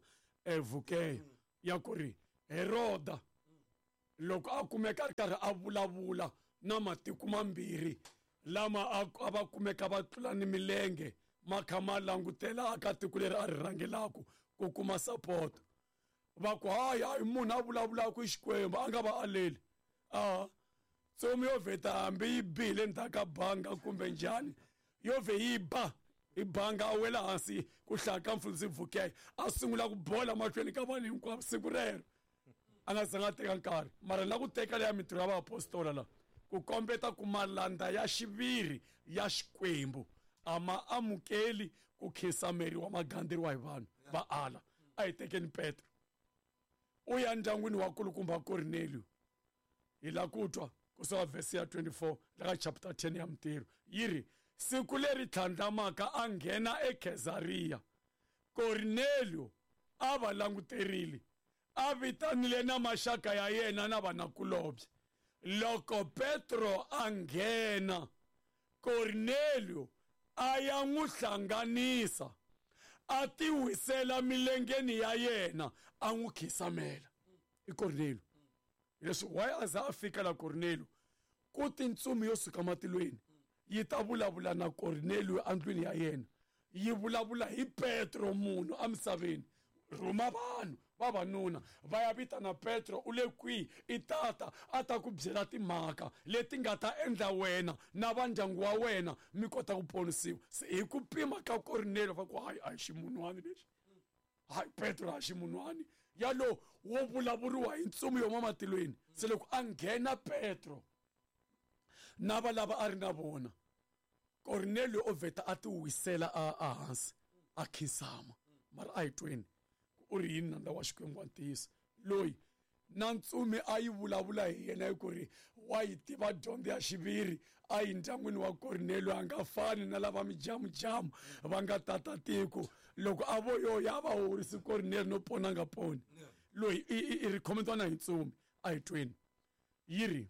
Vukeya ya ku ri Heroda loko a kumeka a ri karhi a vulavula na matiko mambirhi lama a va kumeka va tlula ni milenge ma kha ma langutela aka tiko leri a ri rhangelaku ku kuma support va ku hayi hayi munhu a vulavulaka i Xikwembu a nga va aleli a tsomi yo vheta hambi yi bile ndzhaku ka banga kumbe njhani yo vhe yi ba i banga a wela hansi ku hlaya ka mfundhisi Vukeya a sungula ku bola mahlweni ka vanhu hinkwavo siku rero a nga zanga a teka nkarhi mara na ku teka leya mintirho ya vaapostola la ku kombeta ku malanda ya xiviri ya Xikwembu a ma amukeli ku khinsameriwa magandzeriwa hi vanhu va ala. A hi tekeni Petro u ya ndyangwini wa kulukumba Cornelio hi la ku twa kusuka vhesi ya twenty-four la ka chapter ten ya Mintirho yi ri siku leri tlhandlamaka a nghena eKhezariya Cornelio a va languterile a vitanile na maxaka ya yena na vanakulobye. Loko Petro a nghena Cornelio a ya n'wi hlanganisa a tiwisela milengeni ya yena a n'wi khisamela. I Cornelio leswi why a za a fika la Cornelio ku tintsumi yo suka matilweni yi ta vulavula na Cornelio endlwini ya yena yi vulavula hi Petro munhu emisaveni rhuma vanhu vavanuna va ya vitana Petro u le kwihi i tata a ta ku byela timhaka leti nga ta endla wena na va ndyangu wa wena mi kota ku ponisiwa. Se hi ku pima ka Cornelio va ku hayi a hi ximunhwani lexi hayi Petro a ximunhwani yalo wo vulavuriwa hi ntsumi yo matilweni. Se loko a nghena Petro na va lava a ri na vona Cornelio o vheta a tiwisela a hansi a khinsama mara a hi tweni u ri yini nandza wa Xikwembu wa ntiyiso loyi na ntsumi a yi vulavula hi yena hi ku ri wa yi tiva dyondzo ya xiviri a yi ndyangwini wa Cornelio a nga fani na lava mijamujamu va nga tata tiko loko a vo yo ya va horisi Cornelio no pona nga poni loyi i ri khomentwana hi ntsumi a hi tweni yi ri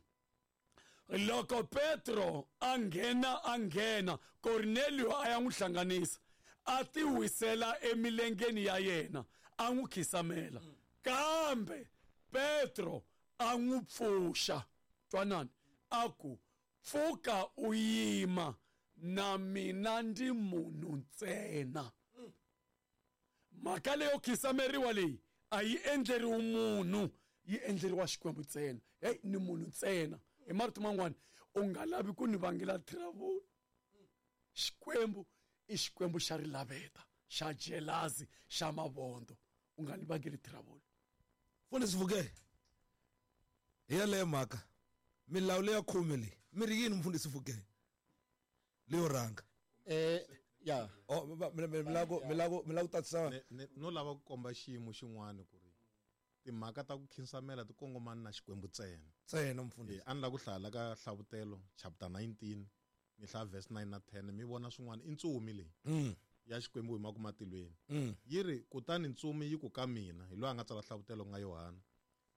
loko Petro a nghena a nghena Cornelio a ya n'wi hlanganisa a tiwisela emilengeni ya yena a n'wi khisamela kambe Petro a n'wi pfuxa twanani a ku pfuka u yima na mina ndi munhu ntsena. Mhaka leyo khisameriwa leyi a yi endleriwi munhu yi endleriwa Xikwembu ntsena. Hey ni munhu ntsena hi marito man'wana u nga lavi ku ni vangela trouble. Xikwembu i Xikwembu xa rilaveta xa jelazi xa mavondo u nga ni vangeli trouble. Mfundhisi Vukeya hi yaleyo mhaka milawu leya khume leyi mi ri yini mfundhisi Vukeya leyo rhanga eh ya oh mi lava ku mi lava mi lava ku tatisa no lava ku komba xiyimo xin'wana ku ri timhaka ta ku khinsamela ti kongomana na Xikwembu ntsena ntsena mfundhisi. A ni lava ku hlaya ka Hlavutelo chapter nineteen mi hlaya verse nine na ten mi vona swin'wana i ntsumi leyi ya Xikwembu hi maku matilweni yi ri kutani ntsumi yi ku ka mina hi loyi a nga tsala Hlavutelo ku nga Yohana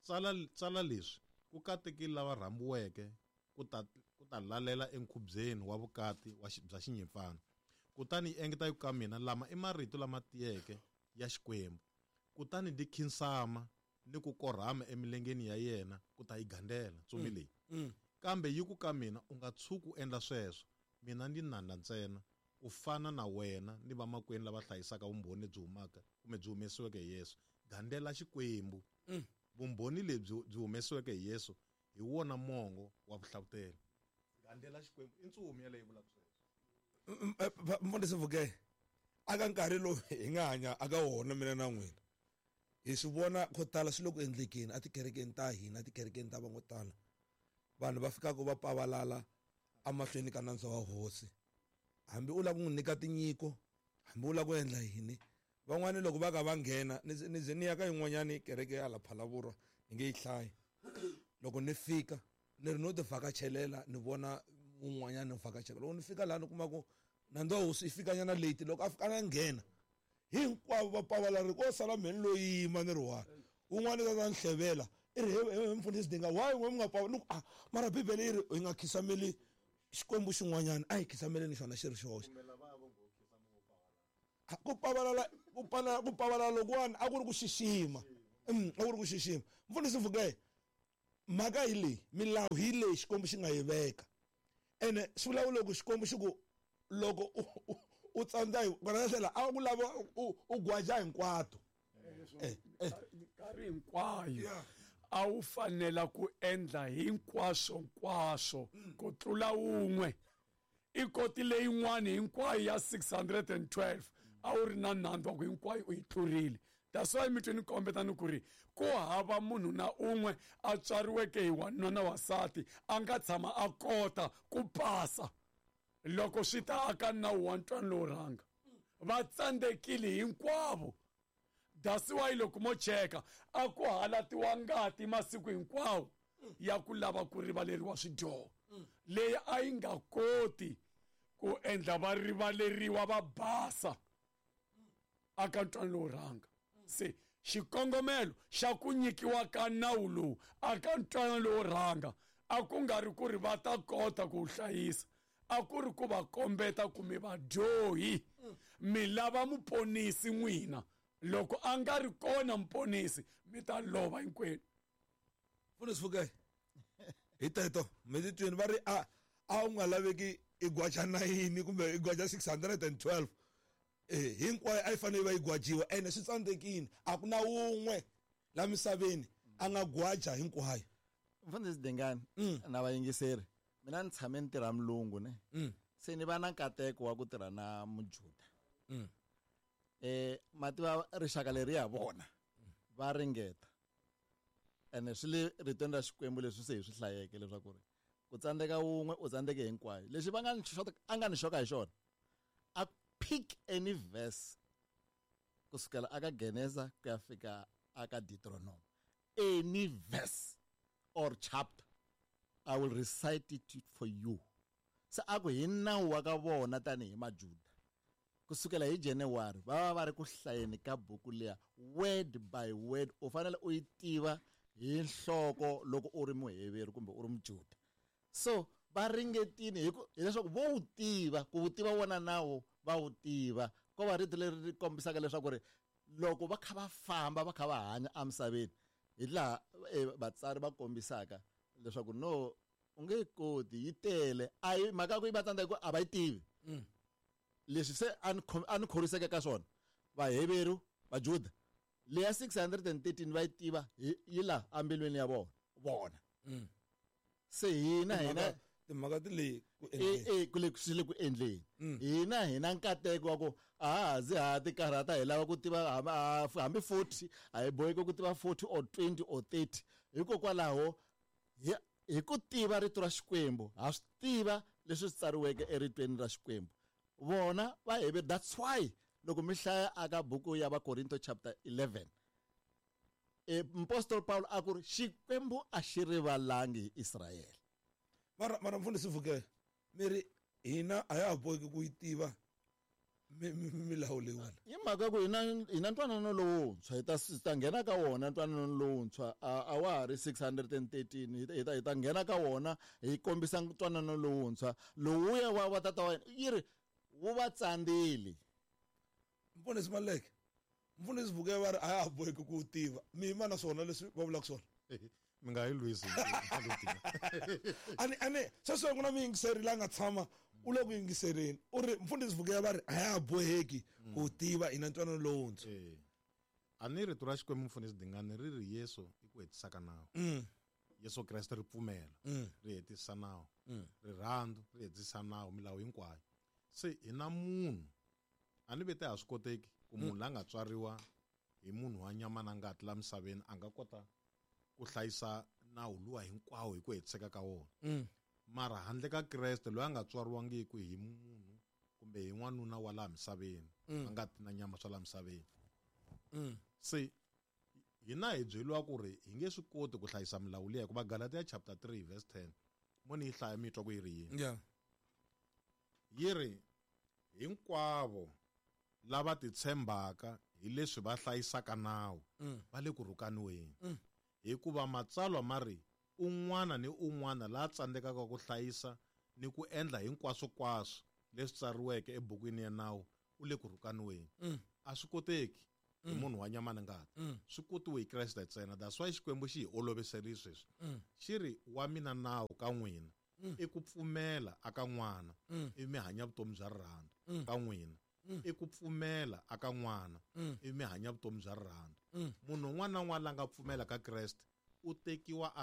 tsala tsala leswi ku katekile lava rhambiweke ku ta ku ta lalela enkhubyeni wa vukati wa bya xinyimpfana kutani yi engeta yi ku ka mina lama i marito lama tiyeke ya Xikwembu kutani ndi khinsama ni ku korhama emilengeni ya yena ku ta yi gandela ntsumi leyi kambe yi ku ka mina u nga tshuki u endla sweswo mina ndi nandza ntsena ku fana na wena ni vamakwenu lava hlayisaka vumbhoni lebyi humaka kumbe byi humesiweke hi Yesu gandela Xikwembu. Vumbhoni lebyi byi humesiweke hi Yesu hi wona mongo wa vuhlavutelo. Gandela Xikwembu i ntsumi yaleyo vulaka sweswo. Mfundhisi Vukeya aka nkarhi lowu hi nga hanya aka wona mina na n'wina hi swi vona ko tala swi le ku endlekeni etikerekeni ta hina etikerekeni ta van'wo tala vanhu va fikaka va pavalala emahlweni ka nandza wa hosi hambi u lava ku n'wi nyika tinyiko hambi u lava ku endla yini van'wani loko va ka va nghena ni ze ni ya ka yin'wanyani kereke ya la Phalaborwa ni nge yi hlayi loko ni fika ni ri no ti vhakachelela ni vona un'wanyana ni vhakachela loko ni fika laha ni kuma ku nandza wa hosi i fikanyana late loko a fika a nghena hinkwavo va pavalari ko sala mheni loyi yima ni ri one un'wana ta ta ni hlevela I ri he mfundhisi Dinga why n'we mi nga pa ni ku ah mara bibele yi ri hi nga khisameli xikwembu xin'wanyana a hi khisameleni xona xi ri xoxe. Ku pavalala ku pana ku pavalala lokuwani a ku ri ku xixima. Mm, a ku ri ku xixima. Mfundhisi Mfukeye, mhaka hi leyi, milawu hi leyi Xikwembu xi nga yi veka. Ene swi vula loko Xikwembu xi ku loko u tsandza hi kona tlhela a ku lava u gwaja hinkwato. Eh, eh. Nkarhi hinkwayo a wu fanela ku endla hinkwaswo nkwaswo ku tlula wun'we. I koti leyin'wani hinkwayo ya six hundred and twelve a wu ri na nandzu wa ku hinkwayo u yi tlurile. That's why mi twe ni kombeta ni ku ri ku hava munhu na un'we a tswariweke hi wanuna na wansati a nga tshama a kota ku pasa loko swi ta aka nawu wa ntwanano lowo rhanga. Va tsandzekile hinkwavo. That's why loko mo cheka a ku halatiwa ngati masiku hinkwawo ya ku lava ku rivaleriwa swidyoho leyi a yi nga koti ku endla va rivaleriwa va basa aka ntwanano lowo rhanga. Se xikongomelo xa ku nyikiwa ka nawu lowu aka ntwanano lowo rhanga a ku nga ri ku ri va ta kota ku wu hlayisa, a ku ri ku va kombeta ku mi vadyohi mi lava muponisi n'wina. Loko a nga ri kona muponisi mi ta lova hinkwenu. Mfundhisi Mfukeye, hi teto mi titweni va ri a a wu nga laveki i gwaja nine kumbe i gwaja six hundred and twelve. Eh, hinkwayo a yi fanele va yi gwajiwa ene swi tsandzekile. A ku na wun'we la misaveni a nga gwaja hinkwayo. Mfundhisi Dingani na vayingiseri, mina ni tshame ni tirha mulungu ne. Se ni va na nkateko wa ku tirha na Mujuda. Eh mativa rixaka leri ya vona va ringeta. Ene swi le ritweni ra Xikwembu leswi se hi swi hlayeke leswaku ri ku tsandzeka wun'we u tsandzeke hinkwayo. Lexi va nga ni xota a nga ni xoka hi xona, a pick any verse kusukela aka Genesa ku ya fika aka Deuteronomy, any verse or chapter, I will recite it for you. Se a ku hi nawu wa ka vona tanihi Majuda kusukela hi January va va va ri ku hlayeni ka buku liya word by word. U fanele u yi tiva hi nhloko loko u ri muheveri kumbe u ri Mujuda. So va ringetile hi ku hileswaku vo wu tiva ku wu tiva wona nawu va wu tiva. Ko va rito leri ri kombisaka leswaku ri loko va kha va famba va kha va hanya emisaveni hi laha vatsari va kombisaka leswaku no u nge koti yi tele. A yi mhaka ku yi va tsandza hi ku a va yi tivi. Leswi se a ni a ni khoriseke ka swona Vaheveru Vajuda leya six hundred and thirteen va yi tiva yi la embilwini ya vona vona. Se hina hina timhaka ti le ku endleni ku le swi le ku endleni. Hina hina nkateko wa ku a ha zi ha ti karhata hi lava ku tiva hambi forty a hi boheki ku tiva forty or twenty or thirty. Hikokwalaho hi ku tiva rito ra Xikwembu ha swi tiva leswi swi tsariweke eritweni ra Xikwembu. Vona va heve. That's why loko mi hlaya aka buku ya Vakorinto chapter eleven e Apostle Paul a ku ri Xikwembu a xi rivalangi hi Israyele. Mara mara mfundhisi Mfukeye, mi ri hina a ya ha boheki ku yi tiva milawu leyiwani. Hi mhaka ku hina hina ntwanano lowuntshwa hi ta hi ta nghena ka wona ntwanano lowuntshwa a wa ha ri six hundred and thirteen hi ta hi ta nghena ka wona hi kombisa ntwanano lowuntshwa lowuya wa wa tata wa yena yi ri wu va tsandzile. Mfundhisi Maluleke, Mfundhisi Mfukeye va ri a ya ha boheki ku tiva. Mi yima na swona leswi va vulaka swona? Mi nga yi lwisi. Ani ani sweswi ku na muyingiseri la nga tshama u le ku yingisereni u ri Mfundhisi Mfukeye va ri a ya ha boheki ku tiva hina ntwanano lowuntshwa. A ni rito ra Xikwembu Mfundhisi Dingani ri ri Yesu i ku hetisa ka nawu. Yesu Kreste ri pfumela ri hetisa nawu, rirhandzu ri hetisa nawu, milawu hinkwayo. Se hina munhu a ni vete a swi koteki ku munhu la nga tswariwa hi munhu wa nyama na ngati la misaveni a nga kota ku hlayisa nawu luwa hinkwawo hi ku hetiseka ka wona. Mara handle ka Kreste loyi a nga tswariwangiki hi munhu kumbe hi n'wanuna wa laha misaveni a nga ti na nyama swa laha misaveni. Se hina hi byeriwa ku ri hi nge swi koti ku hlayisa milawu liya hikuva Galatia chapter three verse ten mo ni yi hlaya mi twa ku yi ri yini. Yeah. Yi ri hinkwavo lava titshembaka hi leswi va hlayisaka nawu va le ku rhukaniweni. Hikuva matsalwa ma ri un'wana ni un'wana la tsandzekaka ku hlayisa ni ku endla hinkwaswokwaswo leswi tsariweke ebukwini ya nawu u le ku rhukaniweni. Mm. A swi koteki hi munhu wa nyama na ngati. Mm. Swi kotiwe hi Kreste ntsena. That's why Xikwembu xi hi oloviserile sweswi. Mm. Xi ri wa mina nawu ka n'wina i ku pfumela aka n'wana Mm. ivi mi hanya vutomi bya rirhandzu Mm. ka n'wina. Mm. I ku pfumela aka n'wana Mm. ivi mi hanya vutomi bya rirhandzu. Mm. Munhu un'wana na un'wana la nga pfumela ka Kreste u tekiwa a